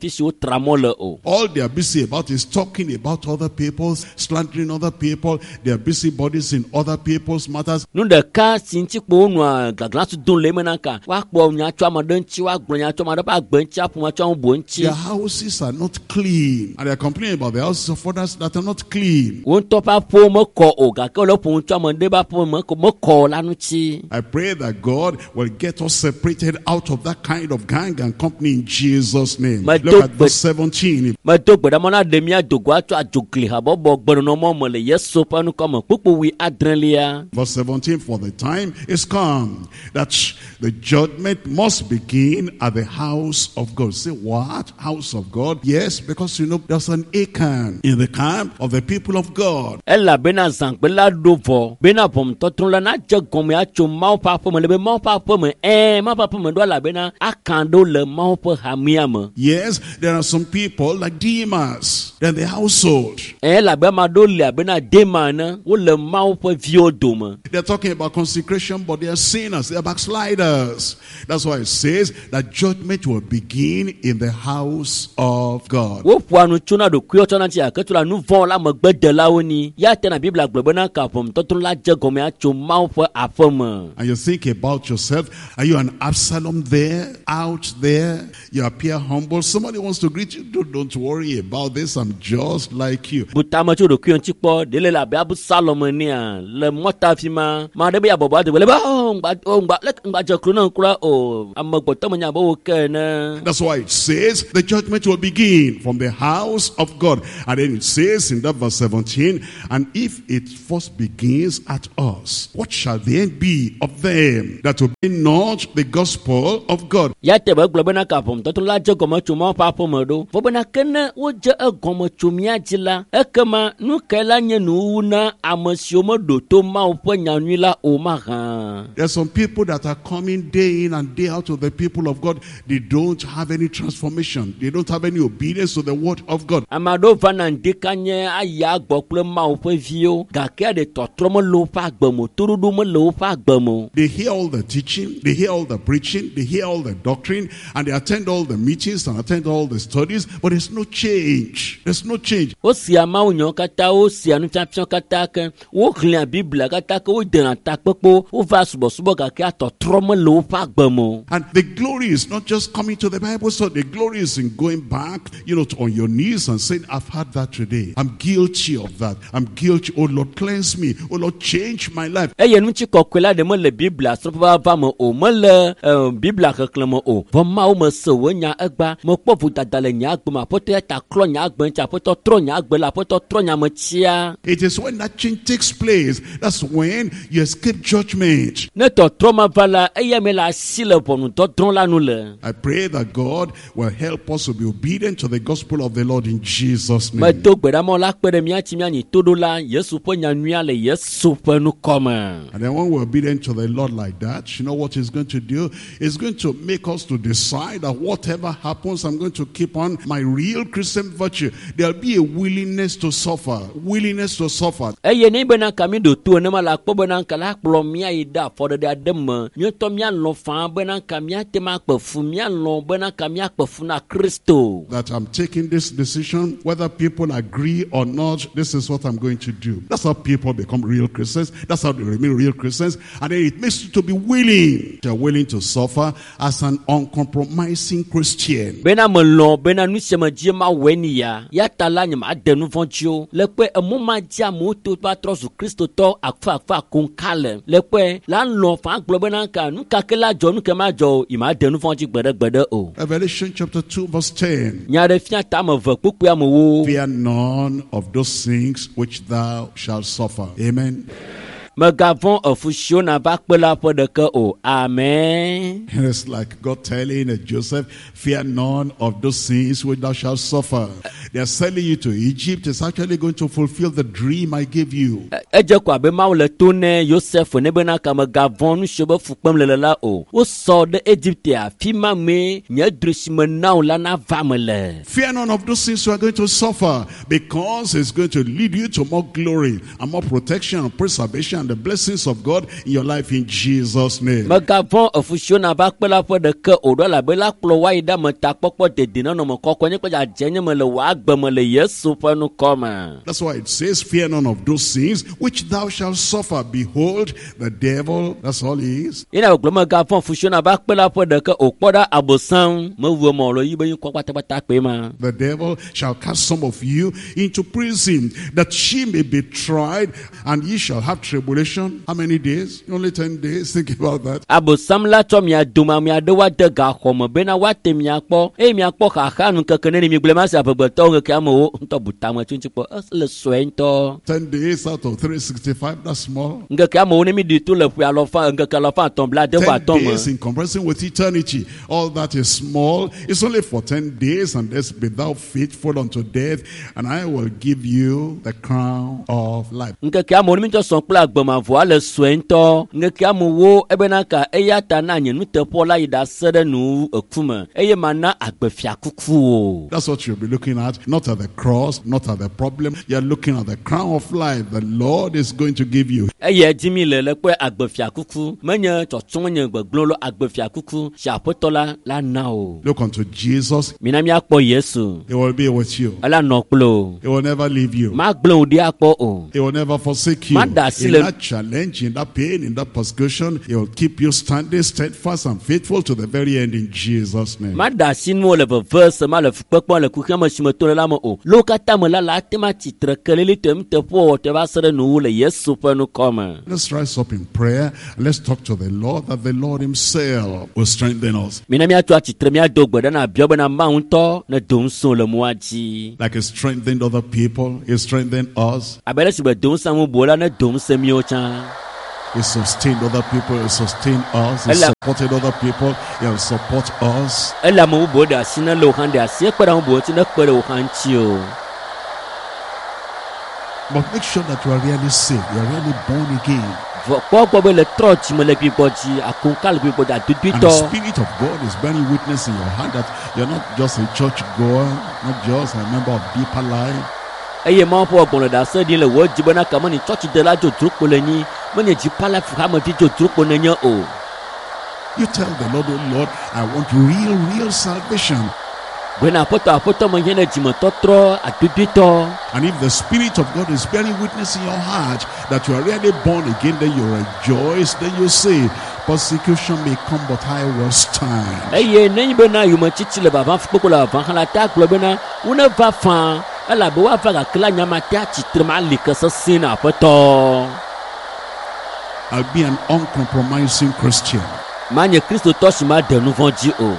fi si wotra mɔ le o. All they are busy about is talking about other people, slandering other people, people. They are busybodies in other people's matters. Nu ɖeka si ŋuti kpo wonɔa gaglãsu dom le eme na ka woakpɔ nya tso ame ɖe ŋuti, woagblɔ nya tso ame ɖe ƒe agbe ŋuti, aƒo nya tso ame bubu ŋuti. Their houses are not clean. And they are complaining about the houses of others that are not clean. Wo ŋutɔ ƒe aƒewo mekɔ o gake wole ƒom tso ame ɖe ƒe aƒe me mekɔ o la ŋuti. I pray that God will get us separated out of that kind of gang and company in Jesus' name. Look at verse 17. Medo gbe ɖa mɔ na ɖe mía do go atso adzogli habɔbɔ gbenɔnɔmɔ me le Yesu ƒe ŋkɔ me. Kpukpu wui adrelia. Verse 17, for the time is come that the judgment must begin at the house of God. Say, what? House of God? Yes, because you know there's an Achan in the camp of the people of God. Elabena zãgbe la ɖo vɔ bena ʋɔnudɔdrɔ̃ la nadze gɔme atso Mawu ƒe aƒeme le be Mawu ƒe aƒeme ɛɛ Mawu ƒe aƒeme ɖo elabena Akan ɖo le Mawu ƒe hamea me. Yes, there are some people like Demas in the household. Elabe ame aɖewo li abena Dema ene wole Mawu ƒe viwo dome. They're talking about consecration, but they are sinners. They are backsliders. That's why it says that judgment will begin in the house of God. Woƒoa nu tsona ɖokuiwo tsɔna ŋuti gake tsona nu vɔ̃ la megbedelawo ni. Ya tena Biblia gblɔ bena ka ʋɔnudɔdrɔ̃ la dze gɔme atso Mawu ƒe aƒeme. And you think about yourself, are you an Absalom there, out there? You appear humble. Somebody wants to greet you. Don't worry about this. I'm just like you. Bu tame tso ɖokuiwo ŋuti kpɔ. Ɖe le abe Absalom enea le mɔta fi ma. Ma ɖe be yeabɔbɔ ade le be oh ŋgba oh ŋgba leke ŋgba dze klo ne kura o. Amegbetɔ menya be wo ke ene. That's why it says the judgment will begin from the house of God. And then it says in that verse 17, and if it first begins at us, what shall the end be of them that obey not the gospel of God? Ya te be gblɔ bena ka ʋɔnudɔdrɔ̃ la dze gɔme tso Mawu ƒe aƒeme ɖo. Vɔ bena ke ne wodze egɔme tso mía dzi la, ekema nu kae la nye nuwuwu na ame siwo meɖo to Mawu ƒe nyanyui la o mahã? There are some people that are coming day in and day out to the people of God. They don't have any transformation. They don't have any obedience to the word of God. Ame aɖewo vana ŋdikanye ayi agbɔ kple Mawu ƒe viwo gake aɖe tɔtrɔ mele woƒe agbe me o, toɖoɖo mele woƒe agbe me o. They hear all the teaching, they hear all the preaching, they hear all the doctrine, and they attend all the meetings and attend all the studies, but there's no change. There's no change. Wosia Mawu nyawo katã, wosia nufiafia katã ke, woxlẽa Biblia katã ke, wodena takpekpewo, wova subɔsubɔ gake atɔtrɔ mele woƒe agbe me o. And the glory is not just coming to the Bible, so the glory is in going back, you know, to, on your knees and saying, I've had that today. I'm guilty of that. I'm guilty. Oh Lord, cleanse me. Oh Lord, change my life. Eye ŋuti kɔkɔe la ɖe mele Biblia srɔ̃ƒe me o, mele Biblia xexlẽ me o. Vɔ Mawu mese wò nya egba, mekpɔ vodada le nye agbe me. Aƒetɔ ya ta klɔ nye agbe ŋuti, Aƒetɔ trɔ nye agbe la, Aƒetɔ trɔ nye ametia. It is when that change takes place, that's when you escape judgment. Ne tɔtrɔ ma va la, eya me le asi le ʋɔnudɔdrɔ̃ la nu le. I pray that God will help us to be obedient to the gospel of the Lord in Jesus' name. Medo gbe ɖa Mawu la kpe ɖe mía ŋuti míanyi toɖola Yesu ƒe nyanyuia le Yesu ƒe ŋkɔ me. And then when we're obedient to the Lord like that, you know what he's going to do? He's going to make us to decide that whatever happens, I'm going to keep on my real Christian virtue. There'll be a willingness to suffer. Willingness to suffer. Eye ne bena ka mi ɖo to enema la kpɔ bena ka la kplɔ mía yi ɖe afɔɖeɖe aɖe me. Míetɔ míalɔ̃ faa bena ka míate ŋu akpe fu, míalɔ̃ bena ka míakpe fu na Kristo. That I'm taking this decision, whether people agree or not, this is what I'm going to do. That's how people become real Christians. That's how they remain real Christians. And then it makes you to be willing. You're willing to suffer as an uncompromising Christian. Bena melɔ̃ bena nu sia me dzi mawɔe ni ya. Ya ta la nye made nu vɔ̃ dzi o. Le kpe emɔ ma dzi amewo to va trɔ zu Kristotɔ akfa konka le. Le kpe la lɔ̃ faa gblɔ bena ka nu ka ke la dzɔ nu ke ma dzɔ o, yi made nu vɔ̃ dzi gbeɖe gbeɖe o. Revelation chapter 2 verse 10. Nya ɖe fia tame eve kpukpui amewo. Fear none of those things which thou shalt suffer. Amen. Megavɔ̃ efu siwo nava kpe la ƒe ɖeke o. Amen. And it's like God telling Joseph, fear none of those things which thou shalt suffer. They are selling you to Egypt. It's actually going to fulfill the dream I gave you. Edze ko abe Mawu le to ne Yosef ne bena ka megavɔ̃ nu siwo be fu kpem le le la o. Wosɔ ɖe Egipte afi ma mee nye drɔ̃e si me na wò la nava me le. Fear none of those things you are going to suffer, because it's going to lead you to more glory and more protection and preservation and the blessings of God in your life in Jesus' name. Megavɔ̃ efu siwo nava kpe la ƒe ɖeke o ɖo elabe la kplɔ woayi ɖe ametakpɔkpɔ dedinɔnɔme kɔkɔe nye kple dzadzenye me le wò agbe me le Yesu ƒe ŋkɔ me. That's why it says, fear none of those things which thou shalt suffer. Behold, the devil, that's all he is. Yina gbɔgblɔ megavɔ̃ fu siwo nava kpe la ƒe ɖeke o kpɔ ɖa abosam mewu eme o le yi be ŋkɔ kpatakpata kpe ma. The devil shall cast some of you into prison, that she may be tried, and ye shall have tribulation. How many days? Only 10 days. Think about that. Abosam la tsɔ mia dome ame aɖewo ade gaxɔ me bena woate mia kpɔ eye miakpɔ xaxa nu keke neni mi gblẽ ma se amegbetɔwo ŋkeke amewo ŋutɔ bu tame tso ŋuti kpɔ ele sue ŋutɔ. 10 days out of 365, that's small. Ŋkeke amewo ne mi ɖi to le ƒe alɔfa ŋkeke alɔfa atɔ̃ bla ade vɔ 10 atɔ̃ me. days in comparison with eternity. All that is small. It's only for 10 days, and this be thou faithful unto death, and I will give you the crown of life. Ŋkeke amewo ne mi tsɔ sɔn kple agbemavɔa le sue ŋutɔ. Ŋkeke amewo ebena ka eya ta na nye nuteƒewɔla yi ɖase ɖe nu eku me eye mana agbefiakuku o. That's what you'll be looking at, not at the cross, not at the problem. You're looking at the crown of life the Lord is going to give you. Eya dzi mi le le kpɔe agbefiakuku menye tsɔtsɔ nye gbegblẽ lo agbefiakuku si aƒetɔ la la na o. Look unto Jesus. Mina míakpɔ Yesu. He will be with you. Ela nɔ kple o. He will never leave you. Magblẽ wò ɖi akpɔ o. He will never forsake you. Ma da asi In le- that challenge, in that pain, in that persecution, he will keep you standing steadfast and faithful to the very end in Jesus' name. Ma da asi nuwo le veve se ma le fukpekpe le kuxia me si me to le la me o. Le wo katã me la la ate ma tsitre kelelitɔe nuteƒewɔwɔtɔe va se ɖe nuwu le Yesu ƒe ŋkɔ me. Let's rise up in prayer. Let's talk to the Lord that the Lord himself will strengthen us. Mina míatso atsitre míado gbe ɖa na biɔ bena Mawu ŋutɔ ne do ŋusẽ le mɔa dzi. Like he strengthened other people, he strengthened us. Abe ale si be do ŋusẽ ame bubuwo la ne do ŋusẽ míawo tsã. He sustained other people, he sustained us. He Ela- supported other people, he will support us. Ele ame bubuwo ɖe asi ne le wo hã ɖe asi ekpe ɖe ame bubuwo ŋuti ne kpe ɖe wo hã ŋuti o. But make sure that you are really saved, you are really born again. Vɔ kpɔ gbɔ be le trɔ dzime le gbigbɔ dzi akonka le gbigbɔ dzi And the adodoetɔ. Spirit of God is bearing witness in your heart that you're not just a church goer, not just a member of Deeper Life, Eye Mawu ƒe gbɔgbɔ le ɖase ɖim le wò dzi bena ka menye tsɔtsidela dzodzro kpo le nyi, menye dzipalafi hamevi dzodzro kpo nenye o. You tell the Lord, oh Lord, I want real, real salvation. Gbena aƒetɔ aƒetɔ me hiã ne dzimetɔtrɔ adodoetɔ. And if the Spirit of God is bearing witness in your heart that you are really born again, then you rejoice, then you say, persecution may come, but I will stand. Eye nenye bena yometsitsi le vava fukpekpe le vava hã la te agblɔ bena woneva faa elabe woava gake la nyama te atsitre ma li ke sesẽ na aƒetɔ. I'll be an uncompromising Christian. Manye kristotɔ si ma de nu vɔ̃ dzi o.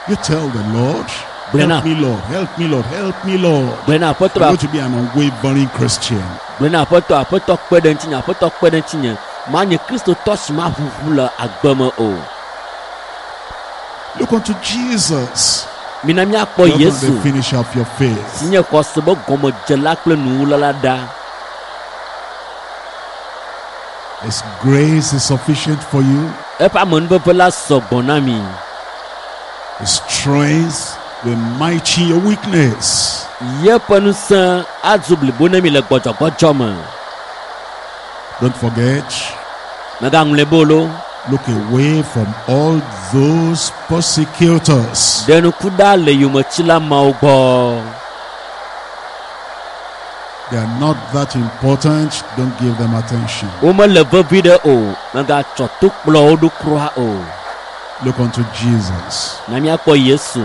You tell the Lord, Brenna. help me, Lord, help me, Lord, help me, Lord. Gblẽ aƒetɔ I'm going to be an unwavering Christian. gblẽ aƒetɔ aƒetɔ kpe ɖe ŋutinye aƒetɔ kpe ɖe ŋutinye manye kristotɔ si ma ʋuʋu le agbe me o. Look unto Jesus, Mina míakpɔ the author and Yesu the finisher of your faith. si nye xɔse be gɔmedzela kple nuwula la ɖa. His grace is sufficient for you. Eƒe amenuveve la sɔgbɔ na mi. His strength will mighty your weakness. Yeƒe ŋusẽ azu blibo na mi le gbɔdzɔgbɔdzɔ me. Don't forget, Megaŋlɔe be o lo. look away from all those persecutors. Ɖe ŋku ɖa le yometsila mawo gbɔ. They are not that important. Don't give them attention. Womele vevi ɖe o. Megatsɔ to kplɔ wo ɖo kura o. Look unto Jesus. Na míakpɔ Yesu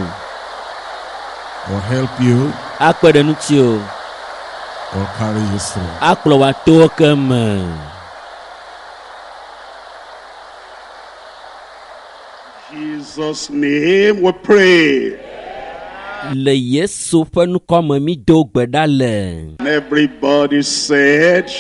He will help you, akpe ɖe ŋuti o. he will carry you through. Akplɔ wò ato ke me. Jesus' name we pray. Le Yesu ƒe ŋkɔ me mi do gbe ɖa le. And everybody said,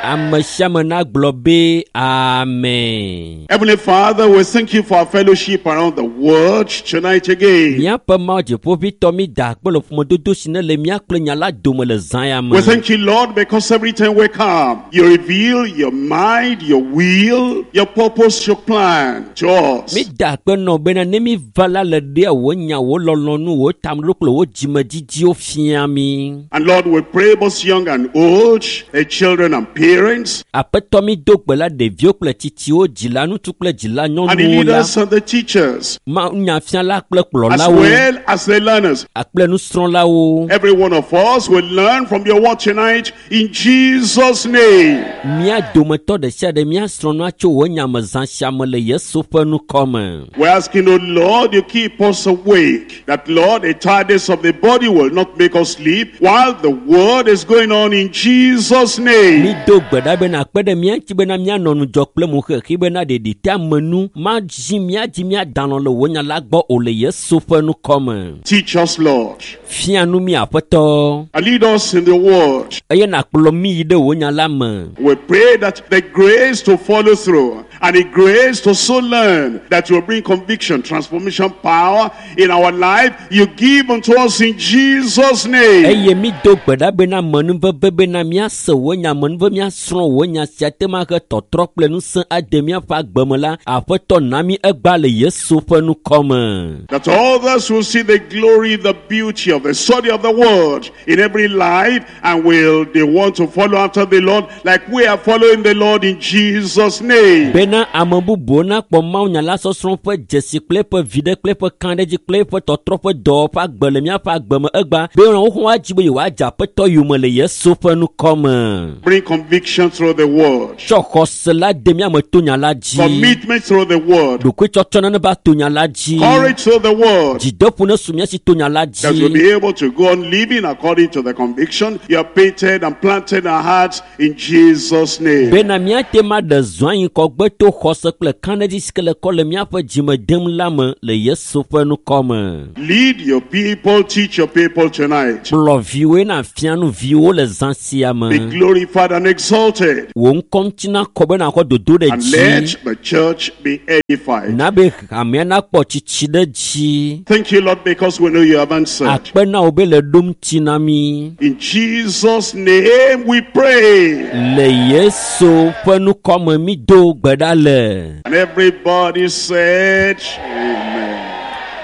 Ame sia ame nagblɔ be amen. Heavenly Father, we thank you for our fellowship around the world tonight again. Míaƒe Mawu dziƒoʋĩtɔ mi da akpe le ƒomedodo si ne le mía kple nya la dome le zã ya me. We thank you, Lord, because every time we come, you reveal your mind, your will, your purpose, your plan to us. Mi da akpe nɔ bena ne mi va la le ɖea wò nya, wò lɔlɔ̃nu, wò tameɖoɖo kple wò dzimedidiwo fia mi. And Lord, we pray both young and old, the children and parents, parents, Aƒetɔ mi do gbe la ɖeviwo kple tsitsiwo, dzila ŋutsu kple dzila and the nyɔnuwo la, leaders and the teachers, nyafiala kple as kplɔlawo well as the learners. kple nusrɔ̃lawo. Every one of us will learn from your word tonight in Jesus' name. Mía dometɔ ɖe sia ɖe míasrɔ̃ nua tso wò nya me zã sia me le Yesu ƒe ŋkɔ me. We're asking, oh Lord, you keep us awake. That, Lord, the tiredness of the body will not make us sleep while the word is going on in Jesus' name. Mi do gbe ɖa bena akpe ɖe mía ŋuti bena míanɔ ŋudzɔ kple mo xexi bena ɖeɖi te ame nu madzi mía dzi míadanɔ le wò nya la gbɔ o le Yesu ƒe ŋkɔ me. Teach us, Lord, Fia nu mí Aƒetɔ and lead us in the word. eye nàkplɔ mí yi ɖe wò nya la me. We pray that the grace to follow through and the grace to so learn that will bring conviction, transformation, power in our life, you give unto us in Jesus' name. Eye mi do gbe ɖa bena menuveve bena míase wò nya menuve míasrɔ̃ wò nya sia te ma he tɔtrɔ kple ŋusẽ ade míaƒe agbe me la Aƒetɔ na mí egbea le Yesu ƒe ŋkɔ me. That others will see the glory, the beauty of the study of the word in every life, and will they want to follow after the Lord like we are following the Lord in Jesus' name. Bena ame bubuwo nakpɔ mawunya la sɔsrɔ̃ ƒe dzesi kple eƒe viɖe kple eƒe kãɖedzi kple eƒe tɔtrɔ ƒe dɔwɔƒe agbe le míaƒe agbe me egbea be wohã woadzi be yewoadze Aƒetɔ yome le Yesu ƒe ŋkɔ me. Bring conviction through the word, Tsɔ xɔse la de mía me to nya la dzi. commitment through the word, Ɖokuitsɔtsɔ nane va to nya la dzi. courage through the word. Dzideƒo ne su mía si to nya la That we'll dzi. be able to go on living according to the conviction you have painted and planted in our hearts in Jesus' name. Bena míate ma ɖe zɔ anyi kɔgbe to xɔse kple kãɖedzi si ke le kɔ le míaƒe dzime dem la me le Yesu ƒe ŋkɔ me. Lead your people, teach your people tonight. Kplɔ viwoe na fia nu viwo le zã sia Be me. glorified and exalted. Wò ŋkɔ ŋuti nakɔ be nàxɔ dodo ɖe And dzi. let the church be edified. Na be hamea nakpɔ tsitsi ɖe dzi. Thank you, Lord, because we know you have answered. Akpe na wò be le ɖom ŋuti na mí. In Jesus' name we pray. Le Yesu ƒe ŋkɔ me mi do gbe ɖa le. And everybody said, Amen.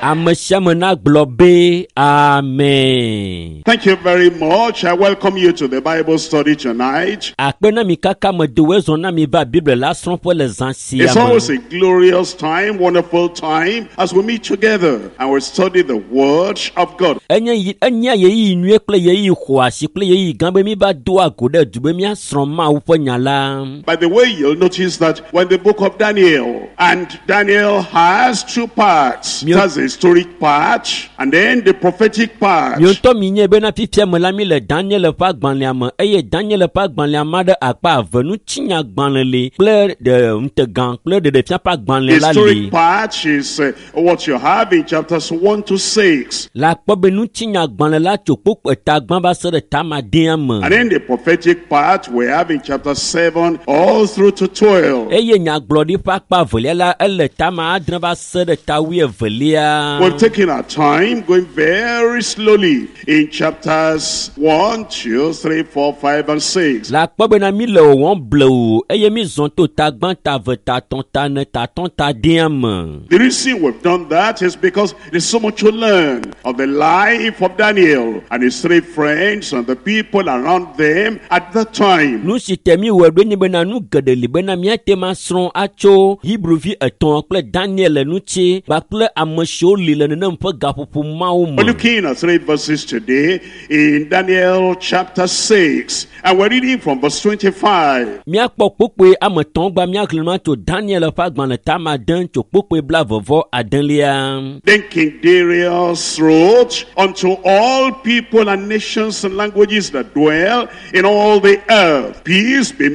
Ame sia ame nagblɔ be amen. Thank you very much. I welcome you to the Bible study tonight. Akpe na mi kaka me do wezɔ na mi va Biblia la srɔ̃ƒe le zã sia It's me. always a glorious time, wonderful time, as we meet together and we study the Word of God. Enye yi enye ɣeyiɣi nyuie kple ɣeyiɣi xɔasi kple ɣeyiɣi gã be mi va doa go ɖe du be míasrɔ̃ Mawu ƒe nya la. By the way, you'll notice that when the book of Daniel, and Daniel has two parts. It has the historic part and then the prophetic part. Miwo ŋutɔ mi nye bena fifia me la mi le Daniel ƒe agbalẽa me eye Daniel ƒe agbalẽa ma ɖe akpa eve ŋutinyagbalẽ li kple ɖe ŋutegã kple ɖeɖefia ƒe agbalẽ la li. Historic part is what you have in chapters 1 to 6. Le akpɔ be ŋutinyagbalẽ la tso kpokpo eta gbã va se ɖe tamadea me. And then the prophetic part we have in chapter 7 all through to 12. Eye nyagblɔɖi ƒe akpa evelia la ele tama adre va se ɖe ta wuievelia. We've taken our time going very slowly in chapters 1, 2, 3, 4, 5, and 6. Le akpɔ bena mi le wɔwɔm blewu eye mi zɔn to ta gbã ta ve ta tɔn ta ne ta tɔn ta dea me. The reason we've done that is because there's so much to learn of the life of Daniel and his three friends and the people around them at that time. Nu si te mi wɔe ɖo nye bena nu geɖe li bena míate ma srɔ̃ atso Hebruvi etɔ̃ kple Daniel ŋuti kpakple ame siwo li le nenem ƒe gaƒoƒo mawo We're me. looking at three verses today in Daniel chapter 6, and we're reading from verse 25. Míakpɔ kpokpoe ame etɔ̃ gba míaxlẽ nua tso Daniel ƒe agbalẽ tama ade tso kpokpoe blaeve adelia. Then King Darius wrote unto all people and nations and languages that dwell in all the earth, peace be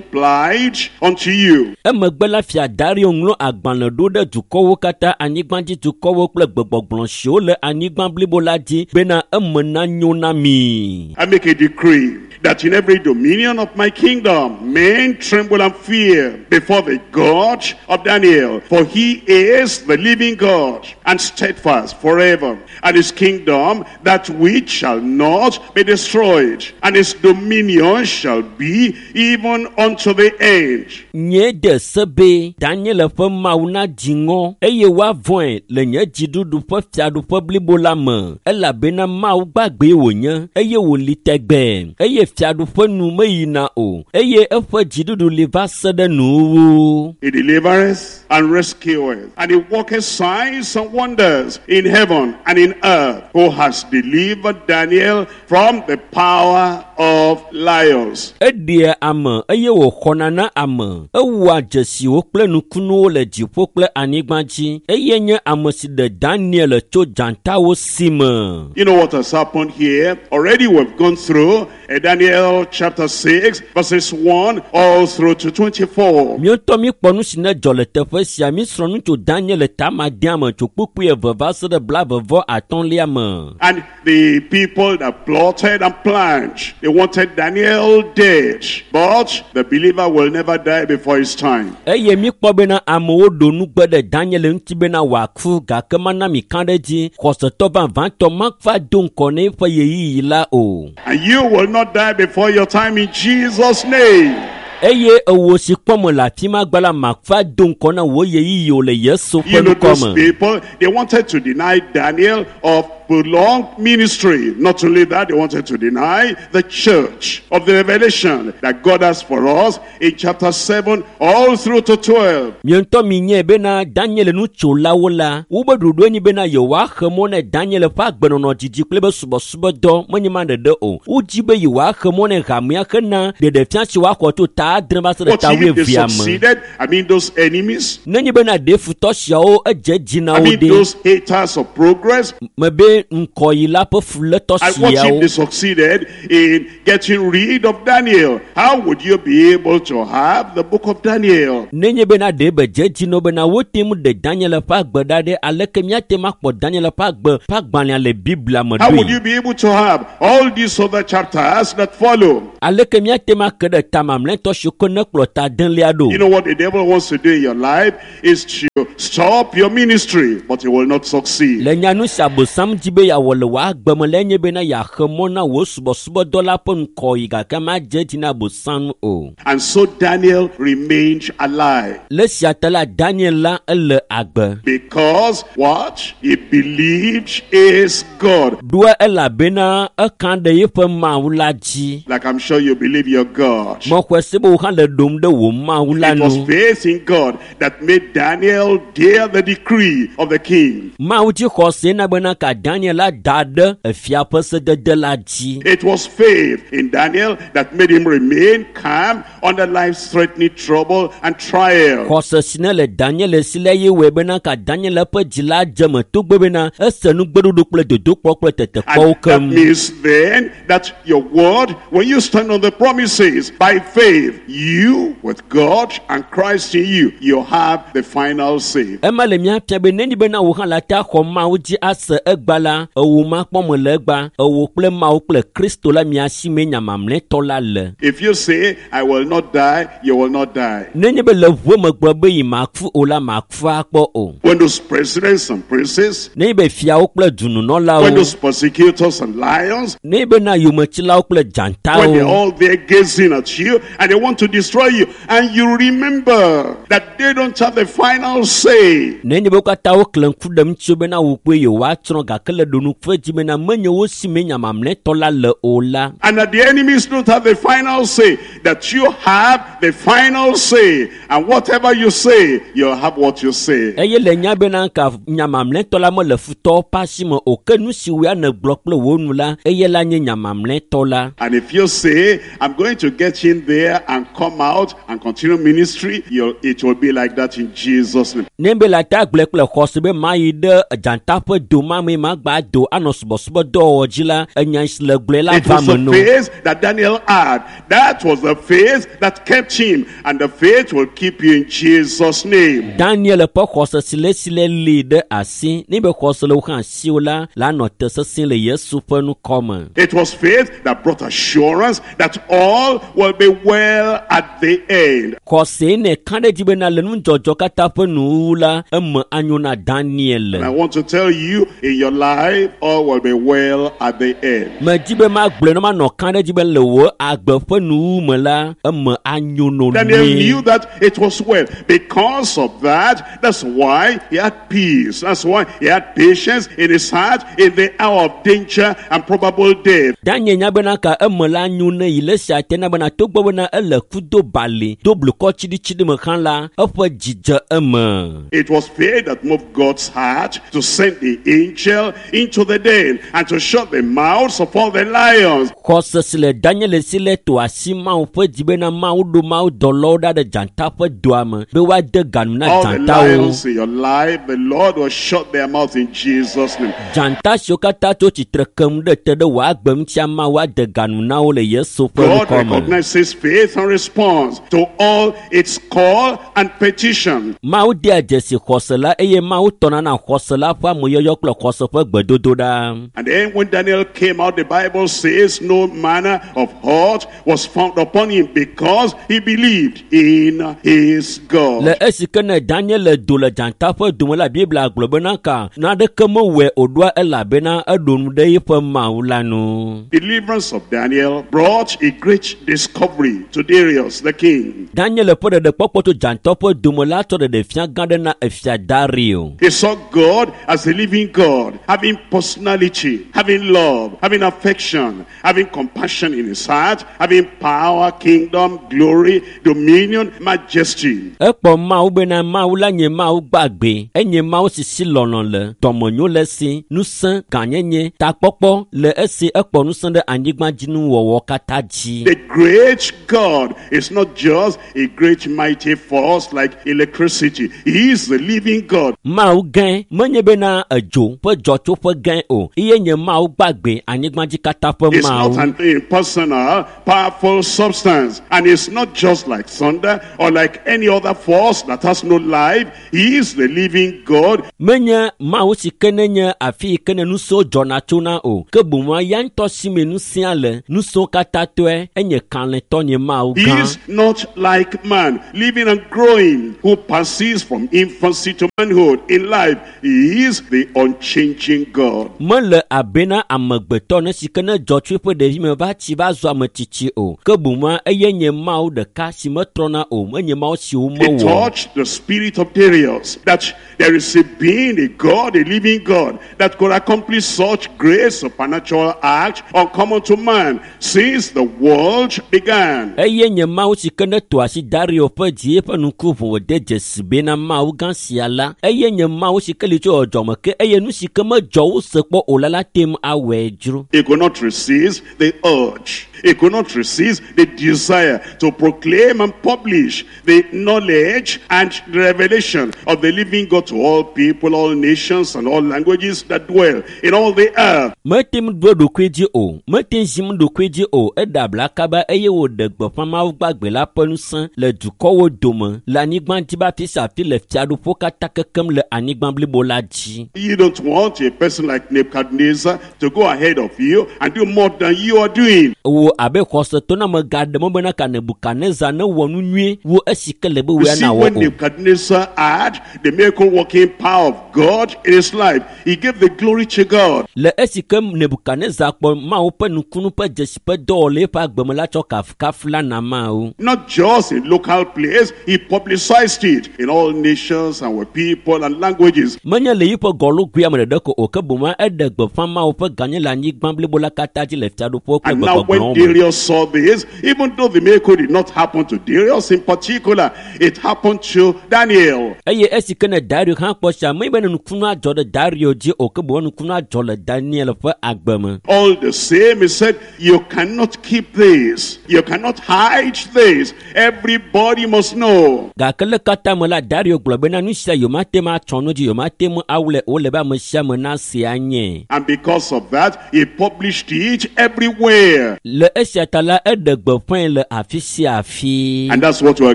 multiplied unto you. Emegbe la fia Dario ŋlɔ agbalẽ ɖo ɖe dukɔwo katã, anyigbadzidukɔwo kple gbegbɔgblɔ siwo le anyigba blibo la dzi bena eme nanyo na mi. I make a decree that in every dominion of my kingdom men tremble and fear before the God of Daniel, for he is the living God and steadfast forever, and his kingdom that which shall not be destroyed, and his dominion shall be even unto the end. Nye de se be Daniel ƒe Mawu nadzi ŋɔ eye woavɔ̃e le nye nye dziɖuɖu ƒe fiaɖuƒe blibo la me elabena Mawu gbagbee wònye eye wòli tɛgbɛɛ eye fiaɖuƒe nu meyina o eye eƒe dziɖuɖu li va se ɖe nuwuwu. He delivereth and rescueth, and he worketh signs and wonders in heaven and in earth, who has delivered Daniel from the power of lions. Eɖea ame eye wòxɔna na ame. Ewɔa dzesiwo kple nukunuwo le dziƒo kple anyigba dzi eye nye ame si ɖe Daniel tso dzatawo si me. You know what has happened here? Already we've gone through Daniel chapter 6, verses 1 all through to 24. Míetɔ míkpɔ nu si ne dzɔ le teƒe sia mísrɔ̃ nu tso Daniel tamadea me tso kpukpui eve va se ɖe 35lia me. And the people that plotted and planned, they wanted Daniel dead. But the believer will never die before his time. Eye míkpɔ bena amewo ɖo nugbe ɖe Daniel ŋuti bena wòaku gake mana mi ka ɖe edzi xɔsetɔ vavãtɔ mava do ŋkɔ na eƒe ɣeyiɣi la o. And you will not die before your time in Jesus' name. Eye ewo si kpɔm le afi ma gba la mava do ŋkɔ na wò ɣeyiɣi o le Yesu ƒe You know, those ŋkɔ me. people, they wanted to deny Daniel of prolonged ministry. Not only that, they wanted to deny the church of the revelation that God has for us in chapter 7 all through to 12. Mie ŋutɔ mi nyae bena Daniel nutsolawo la, wobe ɖoɖoe nyi bena yewoaxe mɔ ne Daniel ƒe agbenɔnɔ dzidzi kple be subɔsubɔdɔ menye ma ɖeɖe o. Wodzi be yewoaxe mɔ ne hamea hena ɖeɖefia si woaxɔ tso ta adre va se ɖe But ta if they wuievea me. succeeded, I mean those enemies, Nenye bena ɖe futɔ siawo edze dzi na I wo mean ɖe those haters of progress, mebe ŋkɔyila ƒe fulétɔ and what if siawo they succeeded in getting rid of Daniel? How would you be able to have the book of Daniel? nenye bena ɖe be dze dzi na wo bena wote ŋu ɖe Daniel ƒe agbe ɖa ɖe aleke míate ŋu akpɔ Daniel ƒe agbe ƒe agbalẽa le Biblia me How would ɖoe? you be able to have all these other chapters that follow? Aleke míate ŋu ake ɖe ta mamlɛtɔ siwo ke ne kplɔ ta adelia ɖo? You know what the devil wants to do in your life is to stop your ministry, but he will not succeed. Le nya nu si Abosam dzi be yeawɔ le wò agbe me lae nye bena yeaxe mɔ na wò subɔsubɔdɔ la ƒe ŋkɔyi gake madze edzi na Abosam o. And so Daniel remained alive Le esia ta la Daniel la ele agbe. because what? He believed is God. Ɖoa elabena eka ɖe eƒe Mawu la dzi. Like I'm sure you believe your God. Mexɔe se be wò hã le ɖom ɖe wò Mawu la It was nu. faith in God that made Daniel dare the decree of the king. Mawu dzi xɔse na bena ka Daniel la da ɖe efia ƒe sedede la dzi. It was faith in Daniel that made him remain calm under life-threatening trouble and trial. Xɔse si ne le Daniel si la ye wɔe bena ka Daniel ƒe dzi la dze me togbɔ bena ese nugbeɖoɖo kple dodokpɔ kple tetekpɔwo And that keŋ. means then that your word, when you stand on the promises by faith, you with God and Christ in you, you have the final say. Ema le mía fia be nenye bena wò hã la te axɔ Mawu dzi ase egba la, ewò makpɔ me le egba, ewò kple Mawu kple Kristo la mia si mee nya mamlɛtɔ la le. If you say, I will not die, you will not die. Nenye be le ʋue me gblɔ be yi maku o la, maku akpɔ o. When those presidents and princes, Nenye be fiawo kple when dununɔlawo, those persecutors and lions, nenye bena yometsilawo kple when they're dzatawo, all there gazing at you and they want to destroy you, and you remember that they don't have the final say. nenye be wo katã woklẽ ŋku ɖe ŋutiwo bena wò kpoe yewoatsrɔ̃ gake le ɖonuƒe dzi bena menye wo si mee nya mamlɛtɔ la le o la. And that the enemies don't have the final say, that you have the final say. And whatever you say, you'll have what you say. Eye le nya bena ka nya mamlɛtɔ la mele futɔwo ƒe asi me o ke nu si woa nègblɔ kple wò nu la eye la nye nya mamlɛtɔ la. And if you say, I'm going to get in there and come out and continue ministry, it will be like that in Jesus' name. Ne be le ate agblɔe kple xɔse be mayi ɖe dzata ƒe do ma me magba do anɔ subɔsubɔdɔwɔwɔ dzi la enya si le gblɔe la It va was me the no. faith that Daniel had. That was the faith that kept him. And the faith will keep you in Jesus' name. Daniel ƒe xɔse si le si le li ɖe asi ne be xɔse le wo hã asiwò la la nɔ te sesĩe le Yesu ƒe ŋkɔ me. It was faith that brought assurance that all will be well at the end. Xɔse ne ka ɖe edzi bena le nudzɔdzɔ katã ƒe nuwuwu la eme anyo na And I Daniel. want to tell you in your life, life, all will be well at the end. Medi be magblɔe ne manɔ kã ɖe dzi be le wò agbe ƒe nuwuwu me la, eme anyo no Daniel nyuie. knew that it was well. Because of that, that's why he had peace. That's why he had patience in his heart in the hour of danger and probable death. Daniel nya bena ka eme la nyo ne yi le esia te na bena togbɔ bena ele ku do bali do blukɔ tsiɖitsiɖi me hã la, eƒe dzi dze eme. It was faith that moved God's heart to send the angel into the den and to shut the mouths of all the lions. Xɔse si le Daniel si le to asi Mawu ƒe dzi bena Mawu ɖo Mawu dɔlawo ɖa ɖe dzata ƒe doa me be woade ga nu na All the dzatawo. lions in your life, the Lord will shut their mouths in Jesus' name. Dzata siwo katã tso tsitre kem ɖe te ɖe wò agbe ŋutia Mawu ade ga nu na wo le Yesu ƒe God ŋkɔ me. recognizes faith and responds to all its call and petition. Mawu dea dzesi xɔse la eye Mawu tɔna na xɔse la ƒe ameyɔyɔ kple xɔse ƒe gbedodoɖa. And then when Daniel came out, the Bible says no manner of hurt was found upon him because he believed in his God. Le esi ke ne Daniel le do le dzata ƒe dome la, Biblia gblɔ bena ka naneke mewɔe o ɖoa elabena eɖo nu ɖe eƒe Mawu la nu. Deliverance of Daniel brought a great discovery to Darius the king. Daniel ƒe ɖeɖekpɔkpɔ tso dzata ƒe dome la tsɔ ɖeɖefia gã ɖe na efia Dario. He saw God as a living God, having personality, having love, having affection, having compassion in his heart, having power, kingdom, glory, dominion, majesty. Ekpɔ Mawu bena Mawu la nye Mawu gbagbe, enye Mawu si si lɔlɔ̃ le, dɔmenyo le esi, ŋusẽ, gãnyenye, takpɔkpɔ le esi ekpɔ ŋusẽ ɖe anyigbadzinuwɔwɔ katã dzi. The great God is not just a great mighty force like electricity. He is the living God. Mawu gãe menye bena edzo ƒe dzɔtsoƒe gãe o, eye nye Mawu gbagbe anyigbadzi katã ƒe It's not Mawu. an impersonal, powerful substance. And it's not just like thunder or like any other force that has no life. He is the living God. Menye Mawu si ke ne nye afi yi ke ne ŋusẽwo dzɔna tsona o, ke boŋ ya ŋutɔ si me ŋusẽa le, ŋusẽwo katã tɔe, enye kalẽtɔ nye Mawu He gã. is not like man, living and growing, who passes from infancy to manhood in life. He is the unchanging God. Mele abena amegbetɔ ne si ke ne dzɔ tso eƒe ɖevime va tsi va zu ame tsitsi o, ke boŋ eye nye Mawu ɖeka si metrɔna o, menye Mawu si It womewɔ. touched the spirit of Darius that there is a being, a God, a living God, that could accomplish such great supernatural act uncommon to man since the world began. Eye nye Mawu si ke ne to asi Dario ƒe dzi eƒe ŋku ʋu wòde dzesi bena Mawu gã sia la, eye nye Mawu si ke li tso dzɔdzɔme ke eye nu si ke medzɔ wose kpɔ o la la te ŋu awɔe dzro. He could not resist the urge. He could not resist the desire to proclaim and publish the knowledge and the revelation of the living God to all people, all nations, and all languages that dwell in all the earth. Mete ŋu ɖo eɖokui dzi o, mete ŋu zim ɖokui dzi o, eɖe abla kaba eye wòɖe gbeƒã Mawu gbagbe la ƒe ŋusẽ le dukɔwo dome, le anyigba dzi be afi sia afi le fiaɖuƒewo katã kekem le anyigba blibo la dzi. You don't want a person like Nebuchadnezzar to go ahead of you and do more than you are doing. Wò abe xɔsetɔ na megaɖe mɔ bena ka Nebukadnezar newɔ nu nyuie wu esi ke le be You wòya see, nawɔ when o. Nebuchadnezzar had the miracle working power of God in his life, he gave the glory to God. Le esi ke Nebukadnezar kpɔ Mawu ƒe nukunu ƒe dzesi ƒe dɔwɔwɔ le eƒe agbe me la tsɔ kafukafu la na Mawu. Not just in local place, he publicized it in all nations and with people and languages. Menye le yiƒe gɔlugui ame ɖeɖe ko o, ke boŋ eɖe gbeƒã Mawu ƒe gãnye le anyigba blibo la katã dzi le fiaɖuƒewo kple And now when gbegbɔgblɔwo me. Darius saw this, even though the miracle did not happen to Darius in particular, it happened to Daniel. Eye esi ke ne Dario hã kpɔ sia, menye be ne nukunua dzɔ ɖe Dario dzi o, ke boŋ nukunua dzɔ le Daniel ƒe agbe me. All the same, he said, you cannot keep this. You cannot hide this. Everybody must know. Gake le katã me la, Dario gblɔ bena nu sia yewomate ŋu atsɔ nu dzi, yewomate ŋu awlɛ o, ele be ame sia ame nase anye. And because of that, he published it everywhere. Le esia ta la, eɖe gbeƒãe le afi sia afi. And that's what we are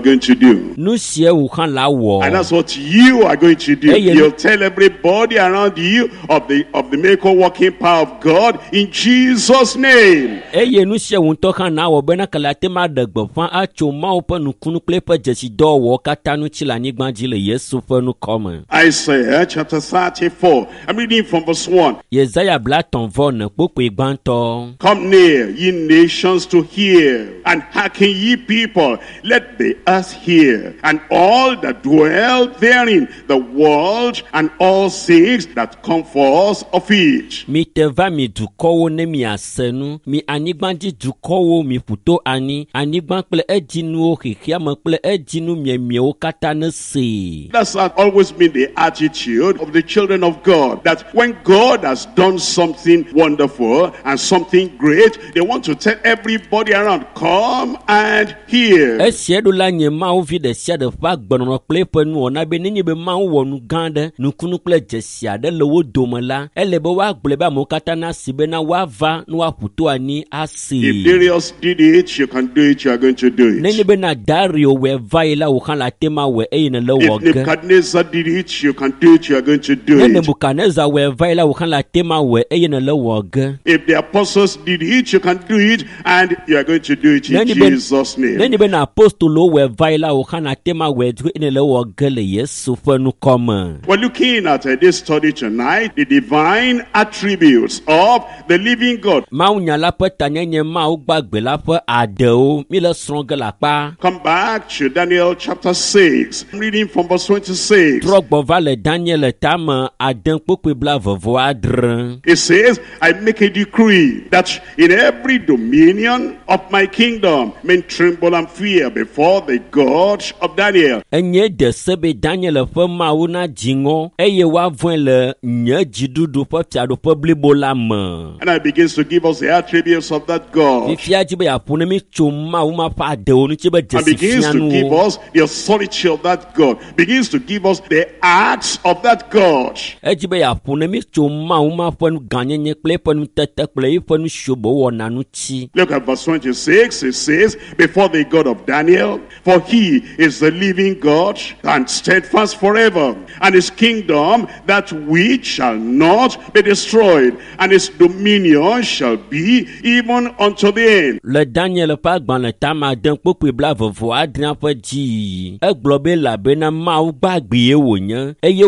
going to do. Nu sia wò hã la And wɔ. that's what you are going to do. Hey, you- You'll tell everybody around you of the miracle working power of God in Jesus' name. Eye nu sia wò ŋutɔ hã nawɔ bena kele ate ŋu aɖe gbeƒã atso Mawu ƒe nukunu kple eƒe dzesidɔwɔwɔ katã ŋuti le anyigba dzi le Yesu ƒe ŋkɔ me. Isaiah chapter 34. I'm reading from verse 1. Yesaya 34 kpukpui gbãtɔ. Come near, ye nations, to hear, and hearken, ye people. Let the earth hear, and all that dwell therein, the world, and all things that come forth of it. Mite va mi dukɔwo ne miase nu, mi anyigbadzi dukɔwo miƒu to anyi, anyigba kple edzinuwo xexeame kple edzinu miemiewo katã ne see. That's always been the attitude of the children of God. That when God has done something wonderful and something great, they want to tell everybody around, come and hear. Esia ɖo la nye Mawu vi ɖe sia ɖe ƒe agbenɔnɔ kple eƒe nuwɔna be nenye be Mawu wɔ nu gã aɖe, nukunu kple dzesi aɖe le wo dome la, ele be woagblɔe be amewo katã nasi bena woava ne woaƒu to anyi asee. If Darius did it, you can do it, you are going to do Nenye it. bena Dario wɔe va yi la, wò hã le ate ma wɔe eye nèle If wɔ ge. Nebuchadnezzar did it, you can do it, you are going to do Ne it. Nebukadnezar wɔe va yi la, wò hã le ate ma wɔe eye nèle wɔ ge. If the apostles did it, you can do it, and you are going to do it in Nenye be Jesus' name. nenye bena apostolowo wɔe va yi la, wò hã le ate ma wɔe eye nèle wɔ ge le Yesu ƒe ŋkɔ me. We're looking at this study tonight, the divine attributes of the living God. Mawunya la ƒe tanyenye Mawu gbagbe la ƒe adewo mi le srɔ̃ ge le akpa. Come back to Daniel chapter 6. I'm reading from verse 26. Trɔ gbɔ va le Daniel tame ade kpukpui 26. It says, I make a decree that in every dominion of my kingdom men tremble and fear before the God of Daniel. Enye de se be Daniel ƒe Mawu na dzi ŋɔ eye woavɔ̃e le nye dziɖuɖu ƒe fiaɖuƒe blibo la me. And I begins to give us the attributes of that God. Fifia dzi be yeaƒo ne mi tso Mawu ma ƒe adewo ŋuti be And begins to give dzesifianuwo. us the authority of that God. Begins to give us the acts of that God. Edzi be yeaƒo ne mi tso Mawu ma ƒe nu gãnyenye kple eƒe nutete kple eƒe nu siwo be wɔna ŋuti. Look at verse 26. It says, Before the God of Daniel, for he is the living God and steadfast forever, and his kingdom that which shall not be destroyed, and his dominion shall be even unto the end. Le Daniel ƒe agbalẽ tame ade kpukpui 26 ƒe dziyiyi, egblɔ be elabena Mawu gbagbee wònye eye